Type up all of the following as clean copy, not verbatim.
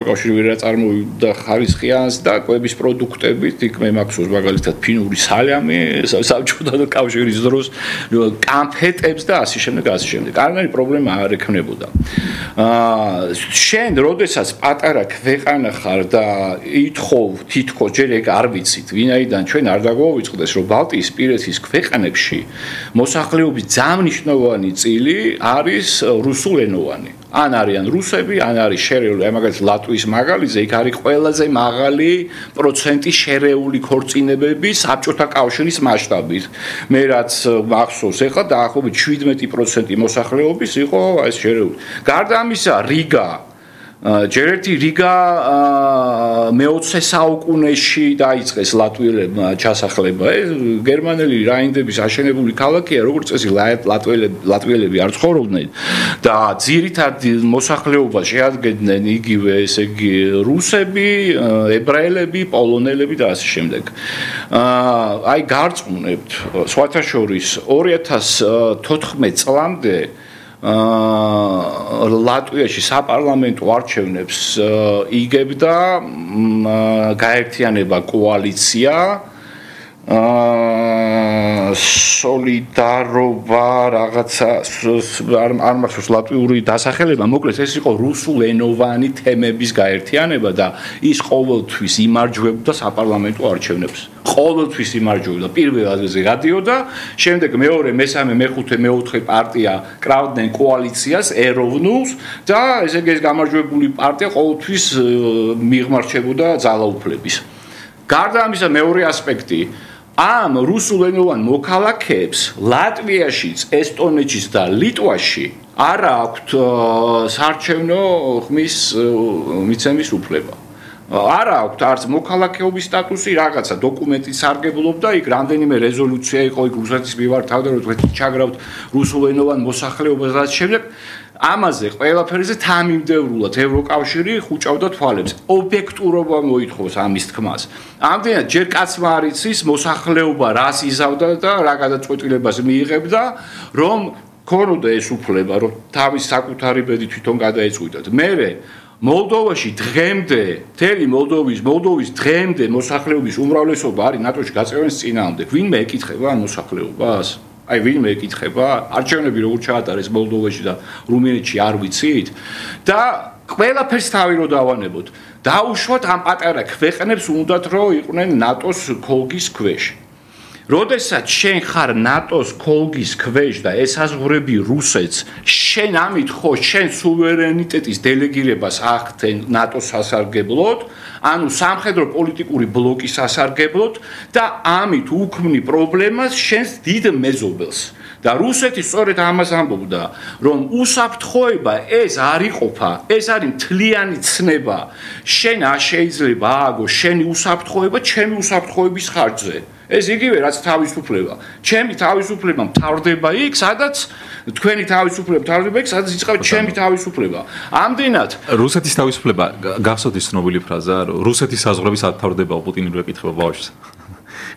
კავშირი რა წარმოვიდა ხარისხიანს და კვების პროდუქტებით, იქ მე მაქვს მაგალითად ფინური სალამი, საბჭოთა კავშირის დროს, კანფეტებს და ასე შემდეგ. კარგად პრობლემა არ ექნებოდა. შენ, როდესაც პატარა ქვეყანა ხარ და ითხოვ თითქოს ჯერ ეგ არ ვიცით, ვინაიდან ჩვენ არ დაგვაუწყდეს, რომ ბალტიისპირეთის ქვეყანებში მოსახლეობის ძალიან მნიშვნელოვანი წილი არის რუსულენოვანი. ან არიან რუსები, ან არის შერეული, მაგალითად ლატვიის მაგალითზე, იქ არის ყველაზე მაღალი პროცენტი შერეული ქორწინებები საბჭოთა კავშირის მასშტაბით. მე რაც მახსოვს, ეხლა დაახლოებით 17% მოსახლეობის იყო ეს შერეული. გარდა ამისა, რიგა ჯერ ერთი რიგა მე-20 საუკუნეში დაიწყეს ლატვიელებმა ჩასახლება. ეს გერმანელი რაინდების აშენებული ქალაქია, როგორც წესი ლატვიელები არ ცხოვრობდნენ და ძირითად მოსახლეობას შეადგენდნენ იგივე, ესე იგი, რუსები, ებრაელები, პოლონელები და ასე შემდეგ. აი გარწმუნებთ, სხვათა შორის 2014 წლამდე ლატვიაში საპარლამენტო არჩევნებს იგებდა გაერთიანება კოალიცია სოლიდარობა რაღაცა არ მახსოვს ლატვიური დასახელება, მოკლედ ეს იყო რუსულენოვანი თემების გაერთიანება და ის ყოველთვის იმარჯვებდა საპარლამენტო არჩევნებს. ყოველთვის იმარჯვებდა, პირველ ადგილზე გადიოდა, შემდეგ მეორე, მესამე, მეხუთე, მეოთხე პარტია კრავდნენ კოალიციას ეროვნულს და ესე იგი ეს გამარჯვებული პარტია ყოველთვის მიღმარჩებოდა ძალაუფლების. გარდა ამისა, მეორე ასპექტი ამ რუსულენოვან მოქალაქეებს ლატვიაშიც, ესტონეთშიც და ლიტვაში არ აქვთ საარჩევნო ხმის მიცემის უფლება. არ აქვთ არც მოქალაქეობის სტატუსი, რაღაცა დოკუმენტი სარგებლობდა, იქ რამდენიმე რეზოლუცია იყო, იქ რუსეთის მიმართ თავდადასხმით ჩაგრავთ რუსულენოვან მოსახლეობას და შემდეგ ამაზე ყველაფერზე თანმიმდევრულად ევროკავშირი ხუჭავდა თვალებს. ობიექტურობა მოითხოვს ამის თქმას. ამდენად ჯერ კაცმა არ იცის მოსახლეობა რას იზავდა და რა გადაწყვეტილებას მიიღებდა, რომ ქონოდა ეს უფლება, რომ თავის საკუთარი ბედი თვითონ გადაეწყვიტათ. მერე მოლდოვაში დღემდე, მთელი მოლდოვის დღემდე მოსახლეობის უმრავლესობა არის ნატოში გაწევნის წინააღმდეგ. ვინმე ეკითხება ამ მოსახლეობას? აი ვინმე ეკითხება? არჩევნები როგორ ჩაატარეს მოლდოვაში და რუმინეთში არ ვიცით? და ყველაფერს თავი რო დავანებოთ. დაუშვათ ამ პატარა ქვეყნებს უნდათ რომ იყვნენ ნატოს ქოლგის ქვეშ. როდესაც შენ ხარ ნატოს ქოლგის ქვეშ და ესაზღვრები რუსეთს, შენ ამით ხო შენ სუვერენიტეტის დელეგირებას ახდენ ნატოს სასარგებლოდ, ანუ სამხედრო პოლიტიკური ბლოკის სასარგებლოდ და ამით უქმნი პრობლემას შენს დიდ მეზობელს. და რუსეთი სწორედ ამას ამბობდა, რომ უსაფრთხოება ეს არ იყოფა, ეს არის მთლიანი ცნება. შენ არ შეიძლება ააგო შენი უსაფრთხოება ჩემი უსაფრთხოების ხარჯზე. ეს იგივე რაც თავისუფლება. ჩემი თავისუფლება მთავრდება იქ, სადაც თქვენი თავისუფლება მთავრდება იქ, სადაც იწყება ჩემი თავისუფლება. ამდენად რუსეთის თავისუფლება გახსოვთ ის ცნობილი ფრაზა, რომ რუსეთის საზღვრები სად თავრდება, პუტინი რო ეკითხება ბავშვს.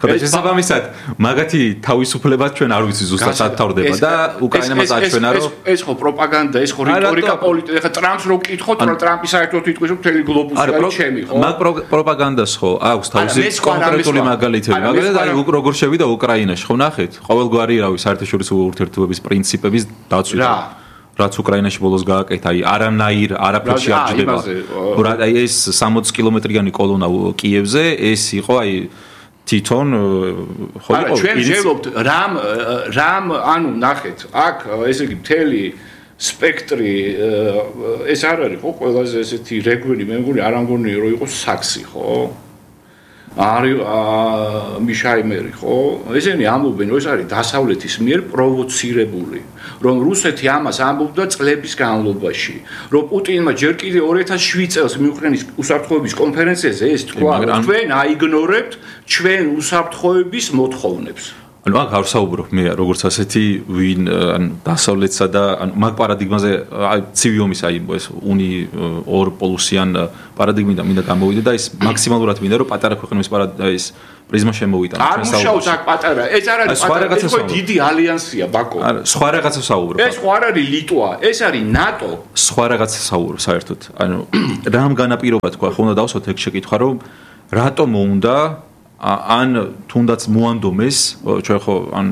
შესაბამისად, მაგათი თავისუფლება ჩვენ არ ვიცი ზუსტად სად თავრდება და უკრაინამ აჩვენა რომ ეს ხო პროპაგანდა, ეს ხო რიტორიკა პოლიტიკა. ეხლა ტრამპს რო კითხოთ, რომ ტრამპი საერთოდ იტყვის, რომ მთელი გლობუსი არის ჩემი, ხო? მაგ პროპაგანდას ხო აქვს თავისი კონკრეტული მაგალითები. მაგალითად, აი როგორ შევიდა უკრაინაში, ხო ნახეთ? ყოველგვარი რავი საერთაშორისო ურთიერთობების პრინციპების დაცვით. რაც უკრაინაში ბოლოს გააკეთა, აი არანაირ არაფერში არ ჯდება. აი ეს 60 კილომეტრიანი კოლონა კიევზე, ეს იყო აი თვითონ ხო იყო ჩვენ ვშევობთ რამ ანუ ნახეთ აქ ესე იგი მთელი სპექტრი ეს არ არის ხო ყველაზე ესეთი რეგვენი მე მგონი არ ამგონია რომ იყოს საქსი ხო არის მიშაიმერი ხო ესენი ამბობენ რომ ეს არის დასავლეთის მიერ პროვოცირებული რომ რუსეთი ამას ამბობდა წლების განმავლობაში რომ პუტინმა ჯერ კიდე 2007 წელს მიუხრენის უსაფრთხოების კონფერენციაზე ეს თქვა რომ თქვენ აიგნორებთ ჩვენ უსაფრთხოების მოთხოვნებს ანუ აქ არ ვსაუბრობ მე როგორც ასეთი ვინ ან დასავლეთსა და ან მაგ პარადიგმაზე ცივი ომის აი ეს უნი ორ პოლუსიან პარადიგმიდან მინდა გამოვიდე და ის მაქსიმალურად მინდა რომ პატარა ქვეყნების ის პრიზმა შემოვიტანო არ მუშაობს აქ პატარა ეს არ არის პატარა ეს ხო დიდი ალიანსია ბაკო არა სხვა რაღაცა საუბრობ ეს ხო არ არის ლიტვა ეს არის ნატო სხვა რაღაცა საუბრობ საერთოდ ანუ რამ განაპირობა თქვა ხო უნდა დავსვათ ეგ შეკითხვა რომ რატომ უნდა ან თუნდაც მოანდომეს ჩვენ ხო ან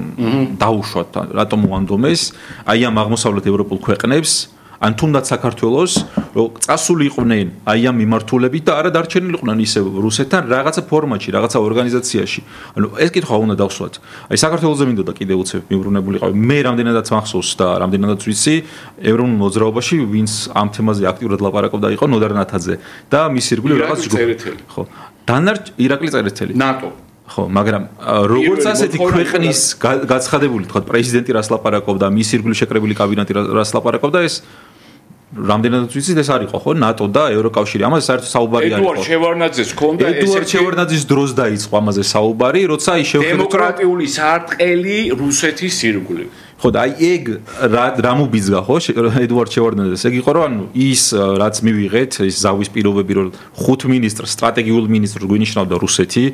დაუშვათ რატომ მოანდომეს აი ამ აღმოსავლეთ ევროპულ ქვეყნებს ან თუნდაც საქართველოს რომ წასული იყვნენ აი ამ მიმართულებით და არა დარჩენილიყვნენ ისევ რუსეთთან რაღაცა ფორმატში რაღაცა ორგანიზაციაში ანუ ეს კითხვა უნდა დავსვათ აი საქართველოზე მინდოდა კიდევ უცებ მიბრუნებულიყავი მე რამდენადაც მახსოვს და რამდენადაც ვიცი ევროპულ მოძრაობაში ვინც ამ თემაზე აქტიურად ლაპარაკობდა იყო ნოდარ ნათაძე და მის ირგვლივ რაღაც ჯგუფი ხო ირაკლი წერეთელი ნატო ხო მაგრამ როგორც ასეთი ქვეყნის გაცხადებული თქვა პრეზიდენტი რას ლაპარაკობდა მის ირგვლივ შეკრებილი კაბინეტი რას ლაპარაკობდა ეს რამდენადაც ვიცით ეს არისო ხო ნატო და ევროკავშირი ამაზე საერთოდ საუბარი არისო ედუარდ შევარნაძეს ჰქონდა ედუარდ შევარნაძის დროს დაიწყო ამაზე საუბარი როცა ის შევხედეთ დემოკრატიული სარტყელი რუსეთის ირგვლივ ხო და აი ეგ რა მუბიძგა ხო ედუარდ შევარნაძეს ეგ იყო რომ ანუ ის რაც მივიღეთ ის ზავის პირობები რომ 5 მინისტრს სტრატეგიულ მინისტრს გვინიშნავდა რუსეთი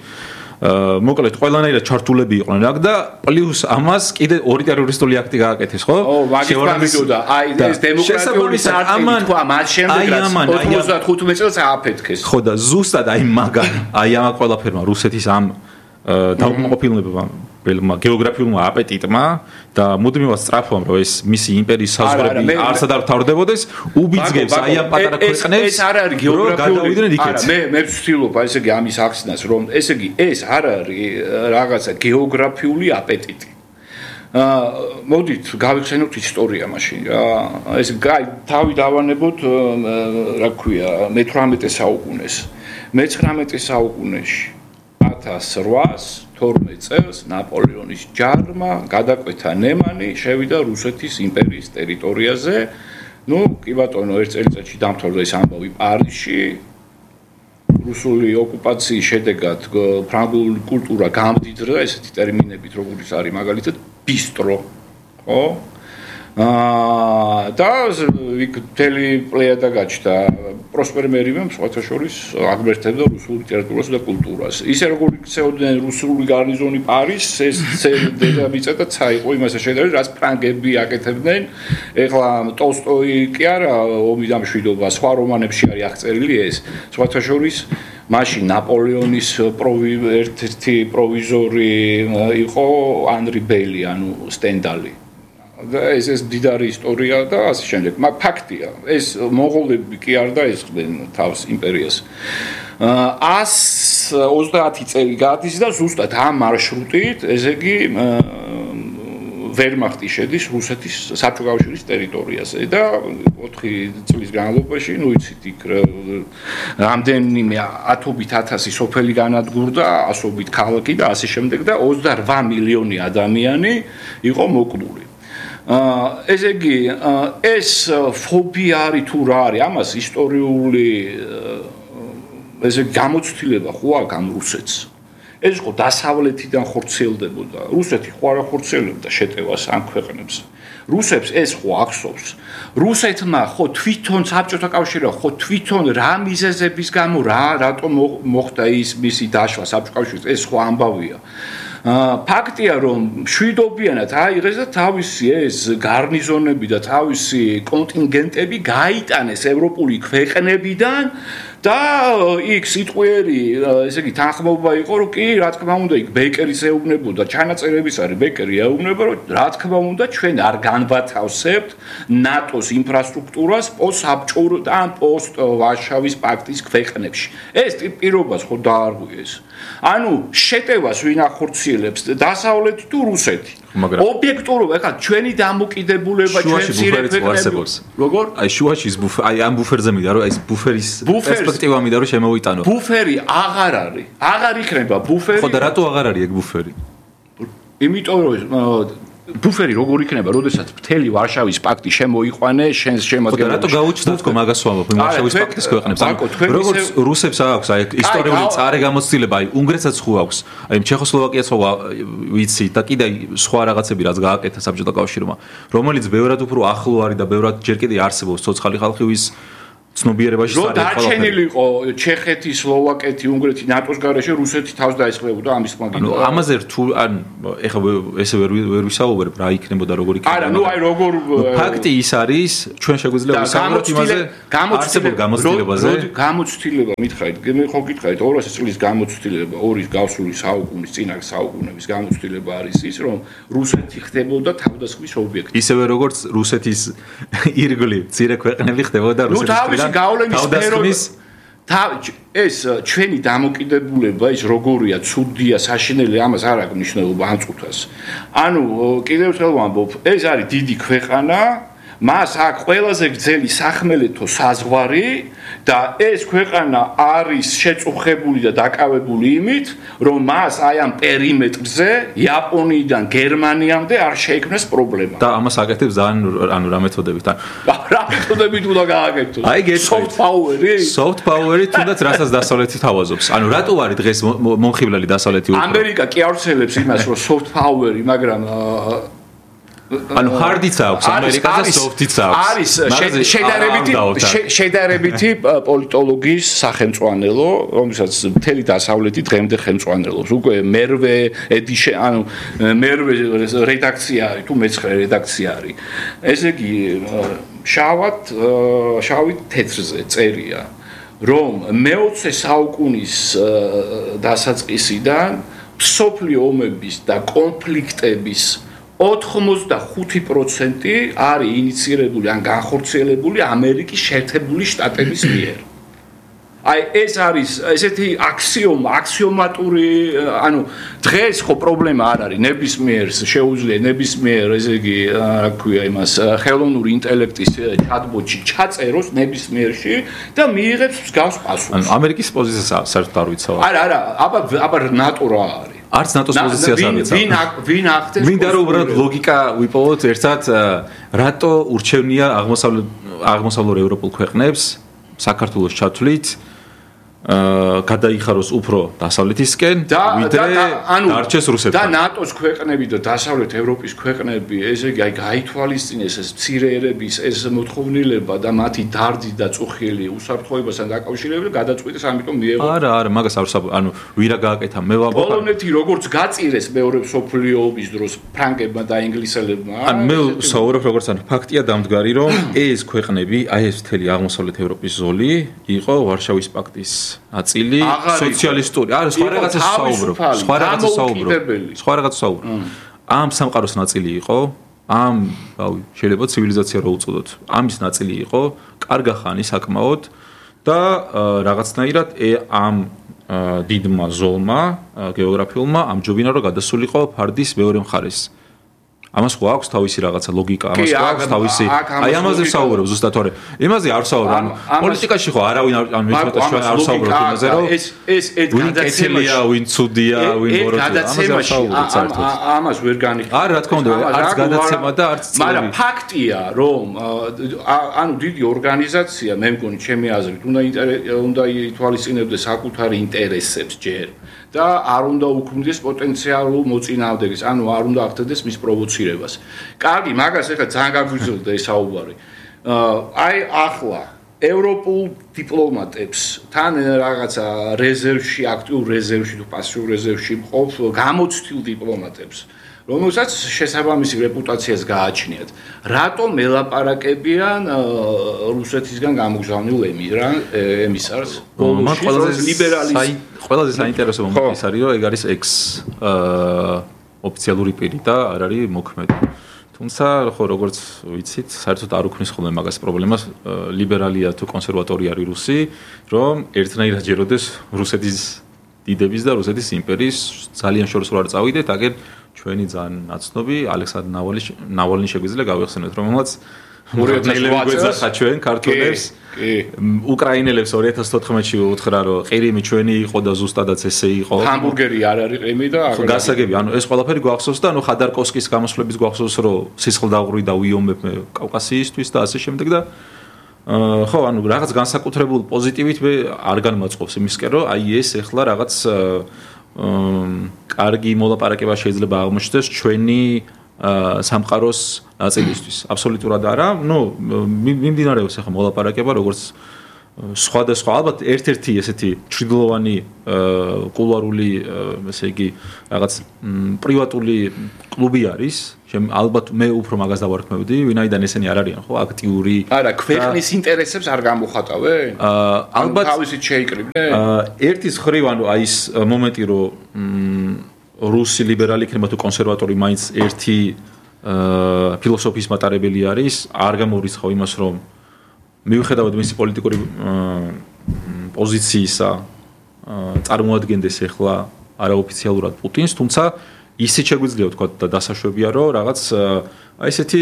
მოკლედ ყველანაირად ჩართულები იყვნენ აქ და პლუს ამას კიდე ორი ტერორისტული აქტი გააკეთეს ხო? შევარდნაძე აი ეს დემოკრატიული სარტყელი თქვა მას შემდეგ რაც 95 წელს ააფეთქეს. ხო და ზუსტად აი მაგან აი ამ ყველაფერმა რუსეთის ამ დაუკმაყოფილებამ გეოგრაფიულმა აპეტიტმა და მუდმივად სწრაფობამ რომ ეს მისი იმპერიის საზღვრები არსად არ თავრდებოდეს უბიძგებს აი ამ პატარა ქვეყნებს ეს არ არის გეოგრაფიული არა მე ვცდილობ ესე იგი ამის ახსნას რომ ესე იგი ეს არ არის რაღაცა გეოგრაფიული აპეტიტი მოდით გავიხსენოთ ისტორია მაშინ რა ეს აი თავი დავანებოთ რა ქვია მე-18 საუკუნეს მე-19 საუკუნეში 1812 წელს ნაპოლეონის ჯარმა გადაკვეთა ნემანი, შევიდა რუსეთის იმპერიის ტერიტორიაზე. ნუ, კი ბატონო, ერთ წელიწადში დამთავრდა ეს ამბავი პარიზში. რუსული ოკუპაციის შედეგად ფრანგული კულტურა გამდიდრდა ესეთი ტერმინებით, როგორიც არის მაგალითად ბისტრო, ხო? და იქ მთელი პლეიადა გაჩნდა პროსპერ მერივემ სხვათა შორის აგმერთებდა რუსულ ლიტერატურას და კულტურას. ისე როგორ იქცეოდნენ რუსული გარნიზონი პარიზს, ეს დედამიწა და ცა იყო იმასე შედარებით, რაც ფრანგები აკეთებდნენ. ეხლა ტოლსტოი კი არა ომი და მშვიდობა, სხვა რომანებში არის აღწერილი ეს. სხვათა შორის მაშინ ნაპოლეონის ერთ-ერთი პროვიზორი იყო ანრი ბელი, ანუ სტენდალი. და ეს დიდარი ისტორია და ასე შემდეგ. მაგ ფაქტია. ეს მონღოლები კი არ დაესხდნენ თავს იმპერიას. 130 წელი გადის და ზუსტად ამ მარშრუტით, ესე იგი ვერმახტი შედის რუსეთის საბჭოთა კავშირის ტერიტორიაზე და 4 წლის განმავლობაში, ნუ იცით, იქ რამდენიმე ათობით ათასი სოფელი განადგურდა, ასობით ქალაქი და ასე შემდეგ და 28 მილიონი ადამიანი იყო მოკლული. ესე იგი ეს ფობია არის თუ რა არის ამას ისტორიული ესე გამოცდილება ხო აქვს ამ რუსეთს ეს ხო დასავლეთიდან ხორციელდებოდა რუსეთი ხო არ ხორციელებდა შეტევას ამ ქვეყნებს რუსებს ეს ხო ახსოვს რუსეთმა ხო თვითონ საბჭოთა კავშირმა ხო თვითონ რა მიზეზების გამო რატომ მოხდა ის მისი დაშლა საბჭოთა კავშირის ეს ხო ამბავია ფაქტია რომ მშვიდობიანად აიღეს და თავისი ეს გარნიზონები და თავისი კონტინგენტები გაიტანეს ევროპული ქვეყნებიდან და იქ სიტყვიერი ესე იგი თანხმობა იყო რომ კი რა თქმა უნდა იქ ბეკერის ეუბნებოდა ჩანაწერების არის ბეკერი ეუბნება რომ რა თქმა უნდა ჩვენ არ განვათავსებთ ნატოს ინფრასტრუქტურას პოსტსაბჭოურ და პოსტ ვარშავის პაქტის ქვეყნებში ეს პირობას ხო დაარღვიეს ანუ შეტევას ვინ ახორციელებს დასავლეთი თუ რუსეთი ობიექტურობა ეხლა ჩვენი დამოკიდებულება ჩვენ ძირე ქვეყნებს როგორ აი შუაში ის აი ამ ბუფერზე მინდა რომ ეს ბუფერის პერსპექტივა მინდა რომ შემოვიტანო ბუფერი აღარ იქნება ბუფერი ხო და რატო აღარ არის ეგ ბუფერი იმიტომ რომ ბუფერი როგორ იქნება, როდესაც მთელი ვარშავის პაქტი შემოიყვანე, შენს შემადგენლობაში. რატო გაუჩნდათ რომ მაგას ვამბობ, ვარშავის პაქტის ქვეყნებს? როგორც რუსებს აქვს აი ისტორიული წარე გამოცდილება, აი უნგრეთსაც ხო აქვს, აი ჩეხოსლოვაკიაც ხო ვიცი და კიდე სხვა რაღაცები რაც გააკეთა საბჭოთა კავშირმა, რომელიც ბევრად უფრო ახლო არის და ბევრად ჯერ კიდე არსებობს ცოცხალი ხალხის ცნობიერებაში სარიცხავ. რომ დარჩენილიყო ჩეხეთი, სლოვაკეთი, უნგრეთი ნატოს გარეშე, რუსეთი თავს დაესწრებოდა ამის მაგით. ანუ ამაზე რთულ ან ეხლა ესე ვერ ვისაუბრებ რა იქნებოდა როგორ იქნებოდა. არა, ნუ აი როგორ ფაქტი ის არის, ჩვენ შეგვიძლია ვისაუბროთ იმაზე, არსებულ გამოცდილებაზე. გამოცდილება მითხარით, მე ხო გითხარით 200 წლის გამოცდილება, 2 გავსული საუკუნის წინა საუკუნების გამოცდილება არის ის, რომ რუსეთი ხდებოდა თავდასხმის ობიექტი. ისევე როგორც რუსეთის ირგვლივ მცირე ქვეყნები ხდებოდა რუსეთის გავლენის სფეროს ეს ჩვენი დამოკიდებულება ის როგორია, ცუდია, საშინელი, ამას არ აქვს მნიშვნელობა ამ წუთას. ანუ კიდევ ერთხელ ვამბობ, ეს არის დიდი ქვეყანა, მას აქვს ყველაზე გრძელი სახმელეთო საზღვარი და ეს ქვეყანა არის შეწუხებული და დაკავებული იმით, რომ მას აი ამ პერიმეტრზე იაპონიიდან გერმანიამდე არ შეექმნეს პრობლემა. და ამას აკეთებს ძალიან ანუ რა მეთოდებით? რა მეთოდებით უნდა გააკეთოს? აი soft power-ი? soft power-ი თუნდაც რასაც დასავლეთი თავაზობს. ანუ რატო არის დღეს მომხიბლელი დასავლეთი უფრო? ამერიკა კი ავრცელებს იმას, რომ soft power-ი, მაგრამ ანუ hard-იც აქვს ამერიკას და soft-იც აქვს. არის შედარებითი პოლიტოლოგიის სახელმწვანელო, რომელსაც მთელი დასავლეთი დღემდე ხელმძღვანელობს. უკვე მერვე ედიშენ, ანუ მერვე რედაქცია არის თუ მეცხრე რედაქცია არის. ესე იგი შავი თეთრზე წერია, რომ მე-20 საუკუნის დასაწყისიდან მსოფლიო ომების და კონფლიქტების 85% არის ინიცირებული ან განხორციელებული ამერიკის შეერთებული შტატების მიერ. აი ეს არის ესეთი აქსიომატური, ანუ დღეს ხო პრობლემა არ არის, ნებისმიერ შეუძლია ნებისმიერ, ესე იგი, რა ქვია იმას, ხელოვნური ინტელექტის ჩატბოტში ჩაწეროს ნებისმიერში და მიიღებს მსგავს პასუხს. ანუ ამერიკის პოზიციას საერთოდ არ ვიცავ. არა, აბა ნატო რა არის? არც ნატოს პოზიციას არ ვიცავ. ვინ ახდენს? მინდა რომ უბრალოდ ლოგიკა ვიპოვოთ ერთად, რატო ურჩევნია აღმოსავლურ ევროპულ ქვეყნებს საქართველოს ჩათვლით გადაიხაროს უფრო დასავლეთისკენ, ვიდრე დარჩეს რუსეთთან. და ნატოს ქვეყნები და დასავლეთ ევროპის ქვეყნები, ესე იგი, გაითვალისწინეს ეს მცირე ერების ეს მოთხოვნილება და მათი დარდი და წუხილი უსაფრთხოებასთან დაკავშირებით გადაწყვიტეს, ამიტომ მიიღო. არა, მაგას არ ვსაუბრობ, ანუ ვირა გააკეთა, მე ვამბობ. პოლონეთი როგორც გაწირეს მეორე მსოფლიო ომის დროს ფრანგებმა და ინგლისელებმა. ანუ მე ვსაუბრობ როგორც ანუ ფაქტია დამდგარი, რომ ეს ქვეყნები, აი ეს მთელი აღმოსავლეთ ევროპის ზოლი იყო ვარშავის პაქტის აწილი სოციალისტური. არა, სხვა რაღაცას ვსაუბრობ. სხვა რაღაცას ვსაუბრობ. ამ სამყაროს ნაწილი იყო, ამ, რავი, შეიძლება ცივილიზაცია რო უწოდოთ. ამის ნაწილი იყო, კარგა ხანი საკმაოდ და რაღაცნაირად ამ დიდმა ზოლმა, გეოგრაფიულმა ამჯობინა რომ გადასულიყო ფარდის მეორე მხარეს. ამას ხო აქვს თავისი რაღაცა ლოგიკა, ამას ხო აქვს თავისი. აი ამაზე ვსაუბრობ ზუსტად, თორე იმაზე არ ვსაუბრობ, ანუ პოლიტიკაში ხო არავინ ანუ მეცოტაში არ ვსაუბრობ იმაზე, რომ ეს გადაცემაა, ვინ ცუდია, ვინ მოროწია, ამაზე ვსაუბრობ საერთოდ. ამას ვერ განიხილავ. არა, რა თქმა უნდა, არც გადაცემა და არც წლები. მაგრამ ფაქტია, რომ ანუ დიდი ორგანიზაცია, მე მგონი, ჩემი აზრით, უნდა ითვალისწინებდეს საკუთარი ინტერესებს ჯერ. და არ უნდა უქმდეს პოტენციალურ მოწინააღმდეგეს, ანუ არ უნდა ახდენდეს მის პროვოცირებას. კარგი, მაგას ახლა ძალიან გაგვიზრდა ეს საუბარი. აი ახლა ევროპულ დიპლომატებს თან რაღაცა რეზერვში, აქტიურ რეზერვში თუ პასიურ რეზერვში მყოფ გამოცდილ დიპლომატებს, რომელსაც შესაბამისი რეპუტაციას გააჩნიათ. რატომ ელაპარაკებიან რუსეთისგან გამოგზავნილ ემისარს? მაგ ყველაზე საინტერესო მომენტი ის არის, რომ ეგ არის ექს ოფიციალური პირი და არ არის მოქმედი. თუმცა ხო როგორც ვიცით, საერთოდ არ უქმნის ხოლმე მაგას პრობლემას, ლიბერალია თუ კონსერვატორი არის რუსი, რომ ერთნაირად ჯეროდეს რუსეთის დიდების და რუსეთის იმპერიის ძალიან შორს რო არ წავიდეთ, აგერ ჩვენი ძალიან ნაცნობი ალექსანდრ ნავალნი შეგვიძლია გავიხსენოთ, რომელმაც გვეძახა ჩვენ ქართველებს უკრაინელებს 2014-ში უთხრა რომ ყირიმი ჩვენი იყო და ზუსტადაც ესე იყო. ჰამბურგერი არ არის ყირიმი და გასაგები, ანუ ეს ყველაფერი გვახსოვს და ანუ ხადარკოვსკის გამოსვლების გვახსოვს რომ სისხლდაღური და ვიომებ კავკასიისთვის და ასე შემდეგ და ხო, ანუ რაღაც განსაკუთრებულ პოზიტივით მე არ განმაწყობს იმისკენ რომ აი ეს ეხლა რაღაც კარგი მოლაპარაკება შეიძლება აღმოჩნდეს ჩვენი სამყაროს ნაწილისთვის. აბსოლუტურად არა. ნუ მიმდინარეობს ახლა მოლაპარაკება, როგორც სხვადასხვა ალბათ ერთ-ერთი ესეთი ჩრდილოვანი კულუარული, ესე იგი, რაღაც პრივატული კლუბი არის. ალბათ მე უფრო მაგას დავარქმევდი, ვინაიდან ესენი არ არიან, ხო, აქტიური. არა, ქვეყნის ინტერესებს არ გამოხატავენ? ალბათ თავისით შეიკრიბნენ? ერთის ხრივ, ანუ აი ეს მომენტი, რომ რუსი ლიბერალი იქნება თუ კონსერვატორი მაინც ერთი ფილოსოფიის მატარებელი არის, არ გამორიცხავ იმას, რომ მიუხედავად მისი პოლიტიკური პოზიციისა წარმოადგენდეს ახლა არაოფიციალურად პუტინს, თუმცა ისიც შეგვიძლია ვთქვა და დასაშვებია, რომ რაღაც აი ესეთი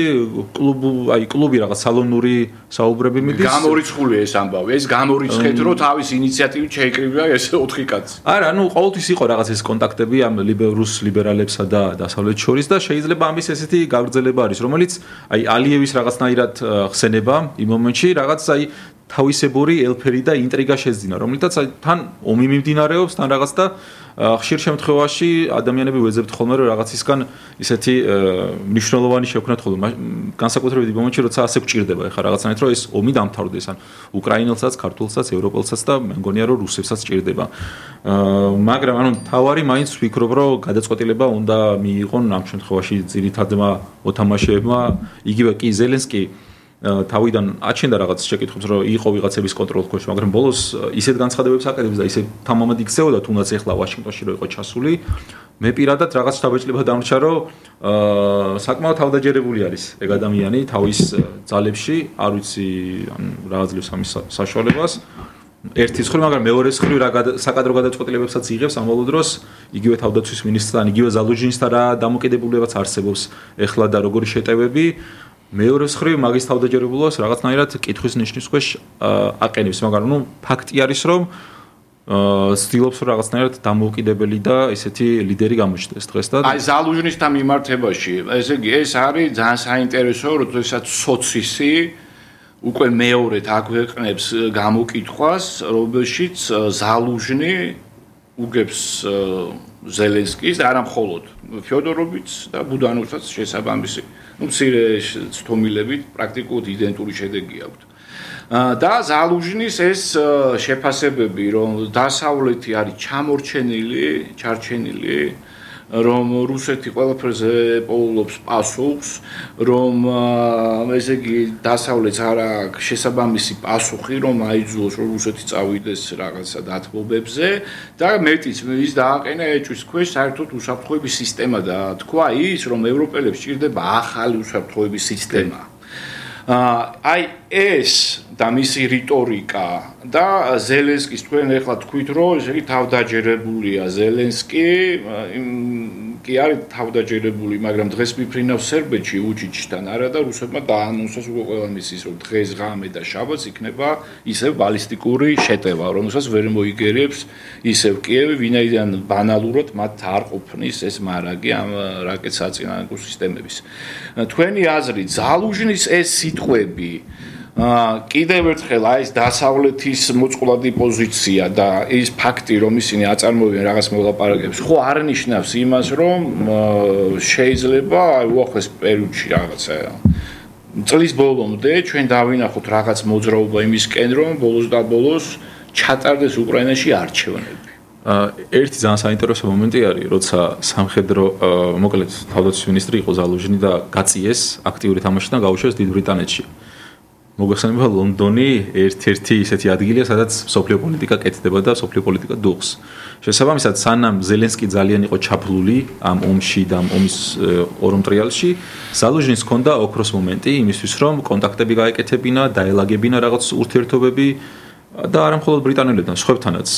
კლუბი რაღაც სალონური საუბრები მიდის. გამორიცხულია ეს ამბავი. ეს გამორიცხეთ, რომ თავის ინიციატივით შეიკრიბა ეს 4 კაცი. არა, ну ყოველთვის იყო რაღაც ეს კონტაქტები ამ რუს ლიბერალებსა და დასავლეთ შორის და შეიძლება ამის ესეთი გაგრძელება არის, რომელიც აი ალიევის რაღაცნაირად ხსენება იმ მომენტში რაღაც აი თავისებური ელფერი და ინტრიგა შეძინა, რომელთაც თან ომი მიმდინარეობს, თან რაღაც და ხშირ შემთხვევაში ადამიანები ვეძებთ ხოლმე რომ რაღაცისგან ისეთი მნიშვნელოვანი შექმნათ ხოლმე განსაკუთრებით იმ მომენტში როცა ასე გვჭირდება ეხლა რაღაცნაირად რომ ეს ომი დამთავრდეს ან უკრაინელსაც, ქართულსაც, ევროპელსაც და მე მგონია რომ რუსებსაც ჭირდება. მაგრამ ანუ თავარი მაინც ვფიქრობ რომ გადაწყვეტილება უნდა მიიღონ ამ შემთხვევაში ძირითადმა მოთამაშეებმა, იგივე კი ზელენსკი თავიდან აჩენდა რაღაც შეკითხვებს რომ იყო ვიღაცების კონტროლის ქვეშ, მაგრამ ბოლოს ისეთ განცხადებებს აკეთებს და ისე თამამად იქცეოდა თუნდაც ეხლა ვაშინგტონში რო იყო ჩასული. მე პირადად რაღაც შთაბეჭდილება დამრჩა რომ საკმაოდ თავდაჯერებული არის ეგ ადამიანი თავის ძალებში, არ ვიცი რა აძლევს ამის საშუალებას. ერთის ხრივ, მაგრამ მეორეს ხრივ რა საკადრო გადაწყვეტილებებსაც იღებს ამავე დროს იგივე თავდაცვის მინისტრთან, იგივე ზალუჟინსთან რა დამოკიდებულებაც არსებობს ეხლა და როგორი შეტევები მეორე ხრივ მაგის თავდაჯერებულობას რაღაცნაირად კითხვის ნიშნის ქვეშ აყენებს, მაგრამ ნუ ფაქტი არის რომ ცდილობს რაღაცნაირად დამოუკიდებელი და ესეთი ლიდერი გამოჩნდეს დღეს და აი ზალუჟნისთან მიმართებაში ესე იგი ეს არის ძალიან საინტერესო როდესაც სოცისი უკვე მეორედ აქვეყნებს გამოკითხვას რომელშიც ზალუჟნი უგებს ზელენსკის და არა მხოლოდ ფიოდოროვიც და ბუდანოვსაც შესაბამისი ну მცირე თომილებით პრაქტიკულად იდენტური შედეგი აქვს და ზალუჟნის ეს შეფასებები რომ დასავლეთი არის ჩარჩენილი რომ რუსეთი ყველაფერზე პოულობს პასუხს რომ ესე იგი დასავლეთს არ აქვს შესაბამისი პასუხი რომ აიძულოს რომ რუსეთი წავიდეს რაღაცა დათბობებზე და მეტიც ის დააყენა ეჭვის ქვეშ საერთოდ უსაფრთხოების სისტემა და თქვა ის რომ ევროპელებს ჭირდება ახალი უსაფრთხოების სისტემა აი ეს და მისი რიტორიკა და ზელენსკის თქვენ ახლა თქვით რომ ესე იგი თავდაჯერებულია ზელენსკი კი არის თავდაჯერებული მაგრამ დღეს მიფრინავს სერბეთში უჩიჩთან არა და რუსებმა დაანონსეს უკვე ყველა მისის რომ დღეს ღამე და შაბათს იქნება ისევ ბალისტიკური შეტევა რომელსაც ვერ მოიგერიებს ისევ კიევი ვინაიდან ბანალურად მათ არ ყოფნის ეს მარაგი ამ რაკეტ საწინააღმდეგო სისტემების თქვენი აზრით ზალუჟნის ეს სიტყვები კიდევ ერთხელ აი ეს დასავლეთის მოწყვლადი პოზიცია და ის ფაქტი რომ ისინი აწარმოებენ რაღაც მოლაპარაკებებს ხო არ ნიშნავს იმას რომ შეიძლება აი უახლეს პერიოდში რაღაცა წლის ბოლომდე ჩვენ დავინახოთ რაღაც მოძრაობა იმისკენ რომ ბოლოს და ბოლოს ჩატარდეს უკრაინაში არჩევნები ერთი ძალიან საინტერესო მომენტი არის როცა სამხედრო მოკლედ თავდაცვის მინისტრი იყო ზალუჟნი და გაწიეს აქტიური თამაში და გაუშვეს დიდ ბრიტანეთში მოგეხსენება ლონდონი ერთ-ერთი ისეთი ადგილია, სადაც სოფლიო პოლიტიკა კეთდება და სოფლიო პოლიტიკა დუღს. შესაბამისად, სანამ ზელენსკი ძალიან იყო ჩაფლული ამ ომში და ამ ომის ორომტრიალში, ზალუჟნის ჰქონდა ოქროს მომენტი იმისთვის, რომ კონტაქტები გაეკეთებინა, დაელაგებინა რაღაც ურთიერთობები და არა მხოლოდ ბრიტანელებთან, სხვებთანაც.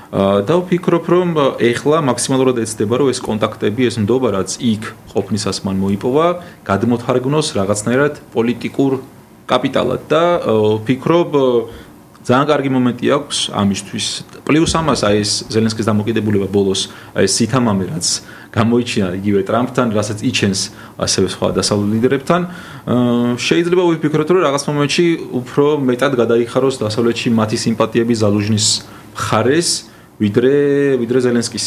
და ვფიქრობ, რომ ეხლა მაქსიმალურად ეცდება, რომ ეს კონტაქტები, ეს ნდობა, რაც იქ ყოფნისას მან მოიპოვა, გადმოთარგმნოს რაღაცნაირად პოლიტიკურ კაპიტალად და ვფიქრობ ძალიან კარგი მომენტი აქვს ამისთვის. პლუს ამას აი ეს ზელენსკის დამოკიდებულება ბოლოს აი ეს სითამამე რაც გამოიჩინა იგივე ტრამპთან, რასაც იჩენს ასევე სხვა დასავლურ ლიდერებთან, შეიძლება ვიფიქროთ, რომ რაღაც მომენტში უფრო მეტად გადაიხაროს დასავლეთში მათი სიმპათიები ზალუჟნის მხარეს, ვიდრე ზელენსკის.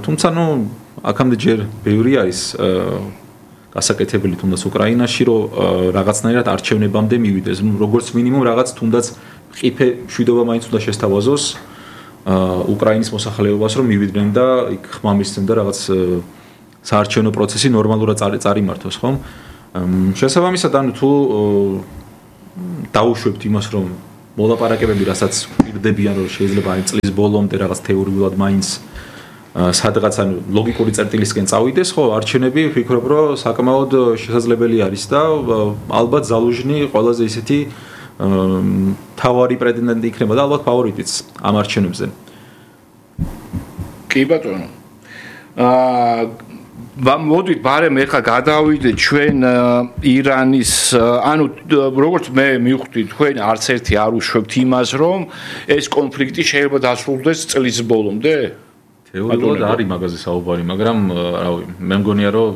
თუმცა აქამდე ჯერ ბევრი არის გასაკეთებელი თუნდაც უკრაინაში, რომ რაღაცნაირად არჩევნებამდე მივიდეს. როგორც მინიმუმ რაღაც თუნდაც ყიფე მშვიდობა მაინც უნდა შესთავაზოს უკრაინის მოსახლეობას, რომ მივიდნენ და იქ ხმამისცემ და რაღაც საარჩევნო პროცესი ნორმალურად წარიმართოს, ხომ? შესაბამისად, თუ დაუშვებთ იმას, რომ მოლაპარაკებები, რასაც პირდებიან, რომ შეიძლება აი წლის ბოლომდე რაღაც თეორიულად მაინც სადღაც ან ლოგიკური წერტილისკენ წავიდეს, ხო, არჩევნები ვფიქრობ, რომ საკმაოდ შესაძლებელი არის და ალბათ ზალუჟნი ყველაზე ისეთი თავარი პრეტენდენტი იქნება და ალბათ ფავორიტიც ამ არჩევნებზე. კი ბატონო. მოდით ბარემ ეხლა გადავიდეთ ჩვენ ირანის, ანუ როგორც მე მივხვდი, თქვენ არც ერთი არ უშვებთ იმას, რომ ეს კონფლიქტი შეიძლება დასრულდეს წლის ბოლომდე? თეორიულად არის მაგაზე საუბარი, მაგრამ რავი, მე მგონია, რომ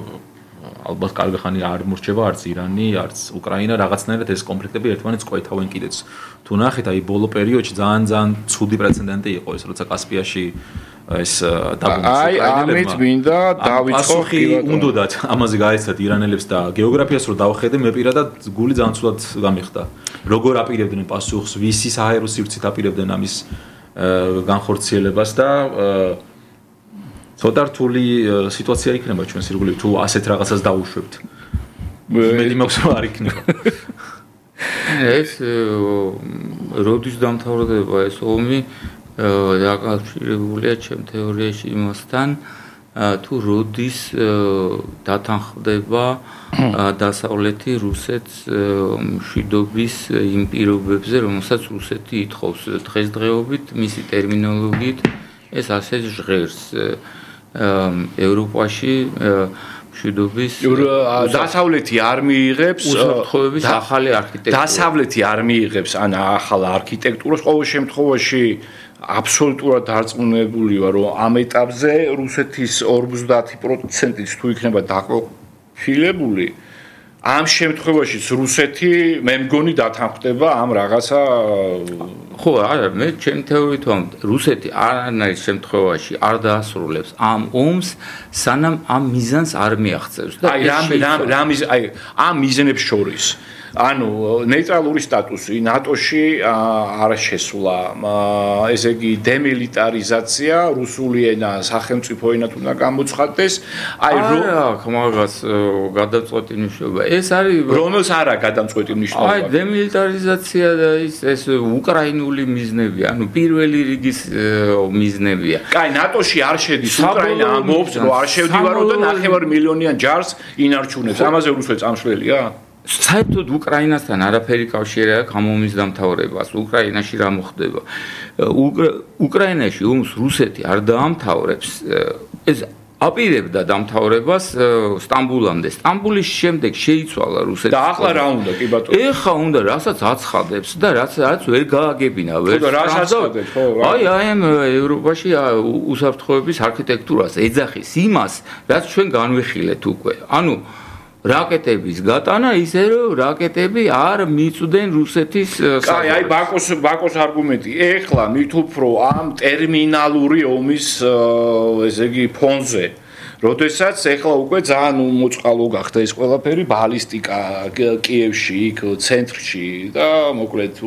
ალბათ კარგი ხანი არ მორჩება არც ირანი, არც უკრაინა, რაღაცნაირად ეს კონფლიქტები ერთმანეთს ყვეთავენ კიდეც. თუ ნახეთ, აი ბოლო პერიოდში ძალიან ცუდი პრეცედენტი იყო ეს, როცა კასპიაში ეს დაბომბვის უკრაინელებმა. აი, ამით მინდა დავიწყო უნდათ ამაზე გაეცათ ირანელებს და გეოგრაფიას რო დავხედე, მე პირადად გული ძალიან ცუდად გამიხდა. როგორ აპირებდნენ პასუხს, ვისი საჰაერო სივრცით აპირებდნენ ამის განხორციელებას და ცოტა რთული სიტუაცია იქნება ჩვენს ირგვლივ თუ ასეთ რაღაცას დაუშვებთ. მე მაქვს რომ არ იქნება. ეს როდის დამთავრდება ეს ომი დაკავშირებულია ჩემ თეორიაში იმასთან, თუ როდის დათანხმდება დასავლეთი რუსეთს მშვიდობის იმ პირობებზე, რომელსაც რუსეთი ითხოვს დღესდღეობით, მისი ტერმინოლოგიით ეს ასე ჟღერს. ევროპაში მშვიდობის დასავლეთი არ მიიღებს უსაფრთხოების ახალი არქიტექტურა. დასავლეთი არ მიიღებს ან ახალ არქიტექტურას, ყოველ შემთხვევაში აბსოლუტურად დარწმუნებული ვარ, რომ ამ ეტაპზე რუსეთის 50%-იც თუ იქნება დაყოფილებული, ამ შემთხვევაშიც რუსეთი მე მგონი დათანხმდება ამ რაღაცა. ხო, არა, მე ჩემი თეორიით ვამ, რუსეთი არანაირ შემთხვევაში არ დაასრულებს ამ ომს, სანამ ამ მიზანს არ მიაღწევს და აი ამ მიზნებს შორის ანუ ნეიტრალური სტატუსი ნატოში არ შესულა, ესე იგი დემილიტარიზაცია, რუსული ენა სახელმწიფო ენად უნდა გამოცხადდეს. აი მაგას გადაწყვეტი მნიშვნელობა. ეს არის რომელს არა გადაწყვეტი მნიშვნელობა. აი დემილიტარიზაცია და ეს უკრაინული მიზნებია, ანუ პირველი რიგის მიზნებია. კაი, ნატოში არ შედის, უკრაინა ამბობს, რომ არ შევდივარო და 9 მილიონიან ჯარს ინარჩუნებს. ამაზე რუსეთს ამშველია? საერთოდ უკრაინასთან არაფერი კავშირი აქვს ამ ომის დამთავრებას. უკრაინაში რა მოხდება? უკრაინაში ომს რუსეთი არ დაამთავრებს. ეს აპირებდა დამთავრებას სტამბულამდე. სტამბულის შემდეგ შეიცვალა რუსეთი. და ახლა რა უნდა, კი ბატონო? ეხლა უნდა, რასაც აცხადებს და რაც ვერ გააგებინა, ვერ აცხადებს, ხო? აი ამ ევროპაში უსაფრთხოების არქიტექტურას ეძახის იმას, რაც ჩვენ განვიხილეთ უკვე. ანუ რაკეტების გატანა ისე რომ რაკეტები არ მიწვდნენ რუსეთის კაი, აი ბაკოს არგუმენტი. ეხლა მით უფრო ამ ტერმინალური ომის ესე იგი ფონზე, როდესაც ეხლა უკვე ძალიან მოწყალო გახდა ეს ყველაფერი, ბალისტიკა კიევში, იქ ცენტრში და მოკლედ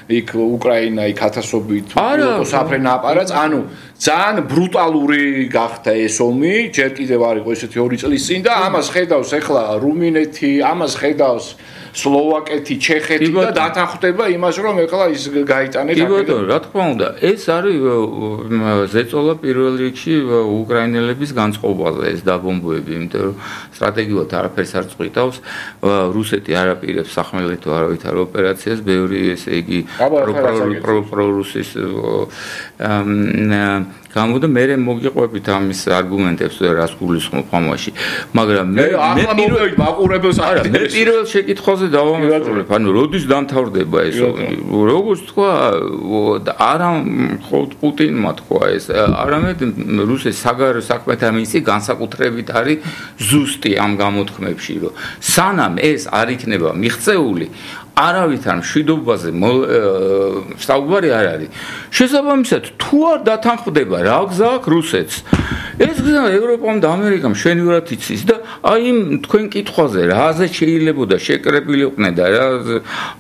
იქ უკრაინა იქ ათასობით საფრენ აპარატს, ანუ ძალიან ბრუტალური გახდა ეს ომი, ჯერ კიდევ არ იყო ესეთი 2 წლის წინ და ამას ხედავს ეხლა რუმინეთი, ამას ხედავს სლოვაკეთი, ჩეხეთი და დათანხმდება იმას, რომ ეხლა ის გაიტანეთ. კი ბატონო, რა თქმა უნდა, ეს არის ზეწოლა პირველ რიგში უკრაინელების განწყობაზე ეს დაბომბვები, იმიტომ რომ სტრატეგიულად არაფერს არ წვითავს, რუსეთი არ აპირებს სახმელეთო არავითარ ოპერაციას, ბევრი ესე იგი პრორუსის გამოდა მე მოგიყვებით ამის არგუმენტებს რას გულისხმობ ამაში მაგრამ მე მაყურებელს არა მე პირველ შეკითხვაზე დავამასწორებ ანუ როდის დამთავრდება ეს როგორც თქვა არა მხოლოდ პუტინმა თქვა ეს არამედ რუსეთის საგარეო საქმეთა მინისტრი განსაკუთრებით არის ზუსტი ამ გამოთქმებში რომ სანამ ეს არ იქნება მიღწეული არავითარ მშვიდობაზე საუბარი არ არის. შესაბამისად, თუ არ დათანხმდება რა გზა აქვს რუსეთს, ეს გზა ევროპამ და ამერიკამ შვენივრად იცის და აი იმ თქვენ კითხვაზე რაზე შეიძლებოდა შეკრებილიყვნენ და რა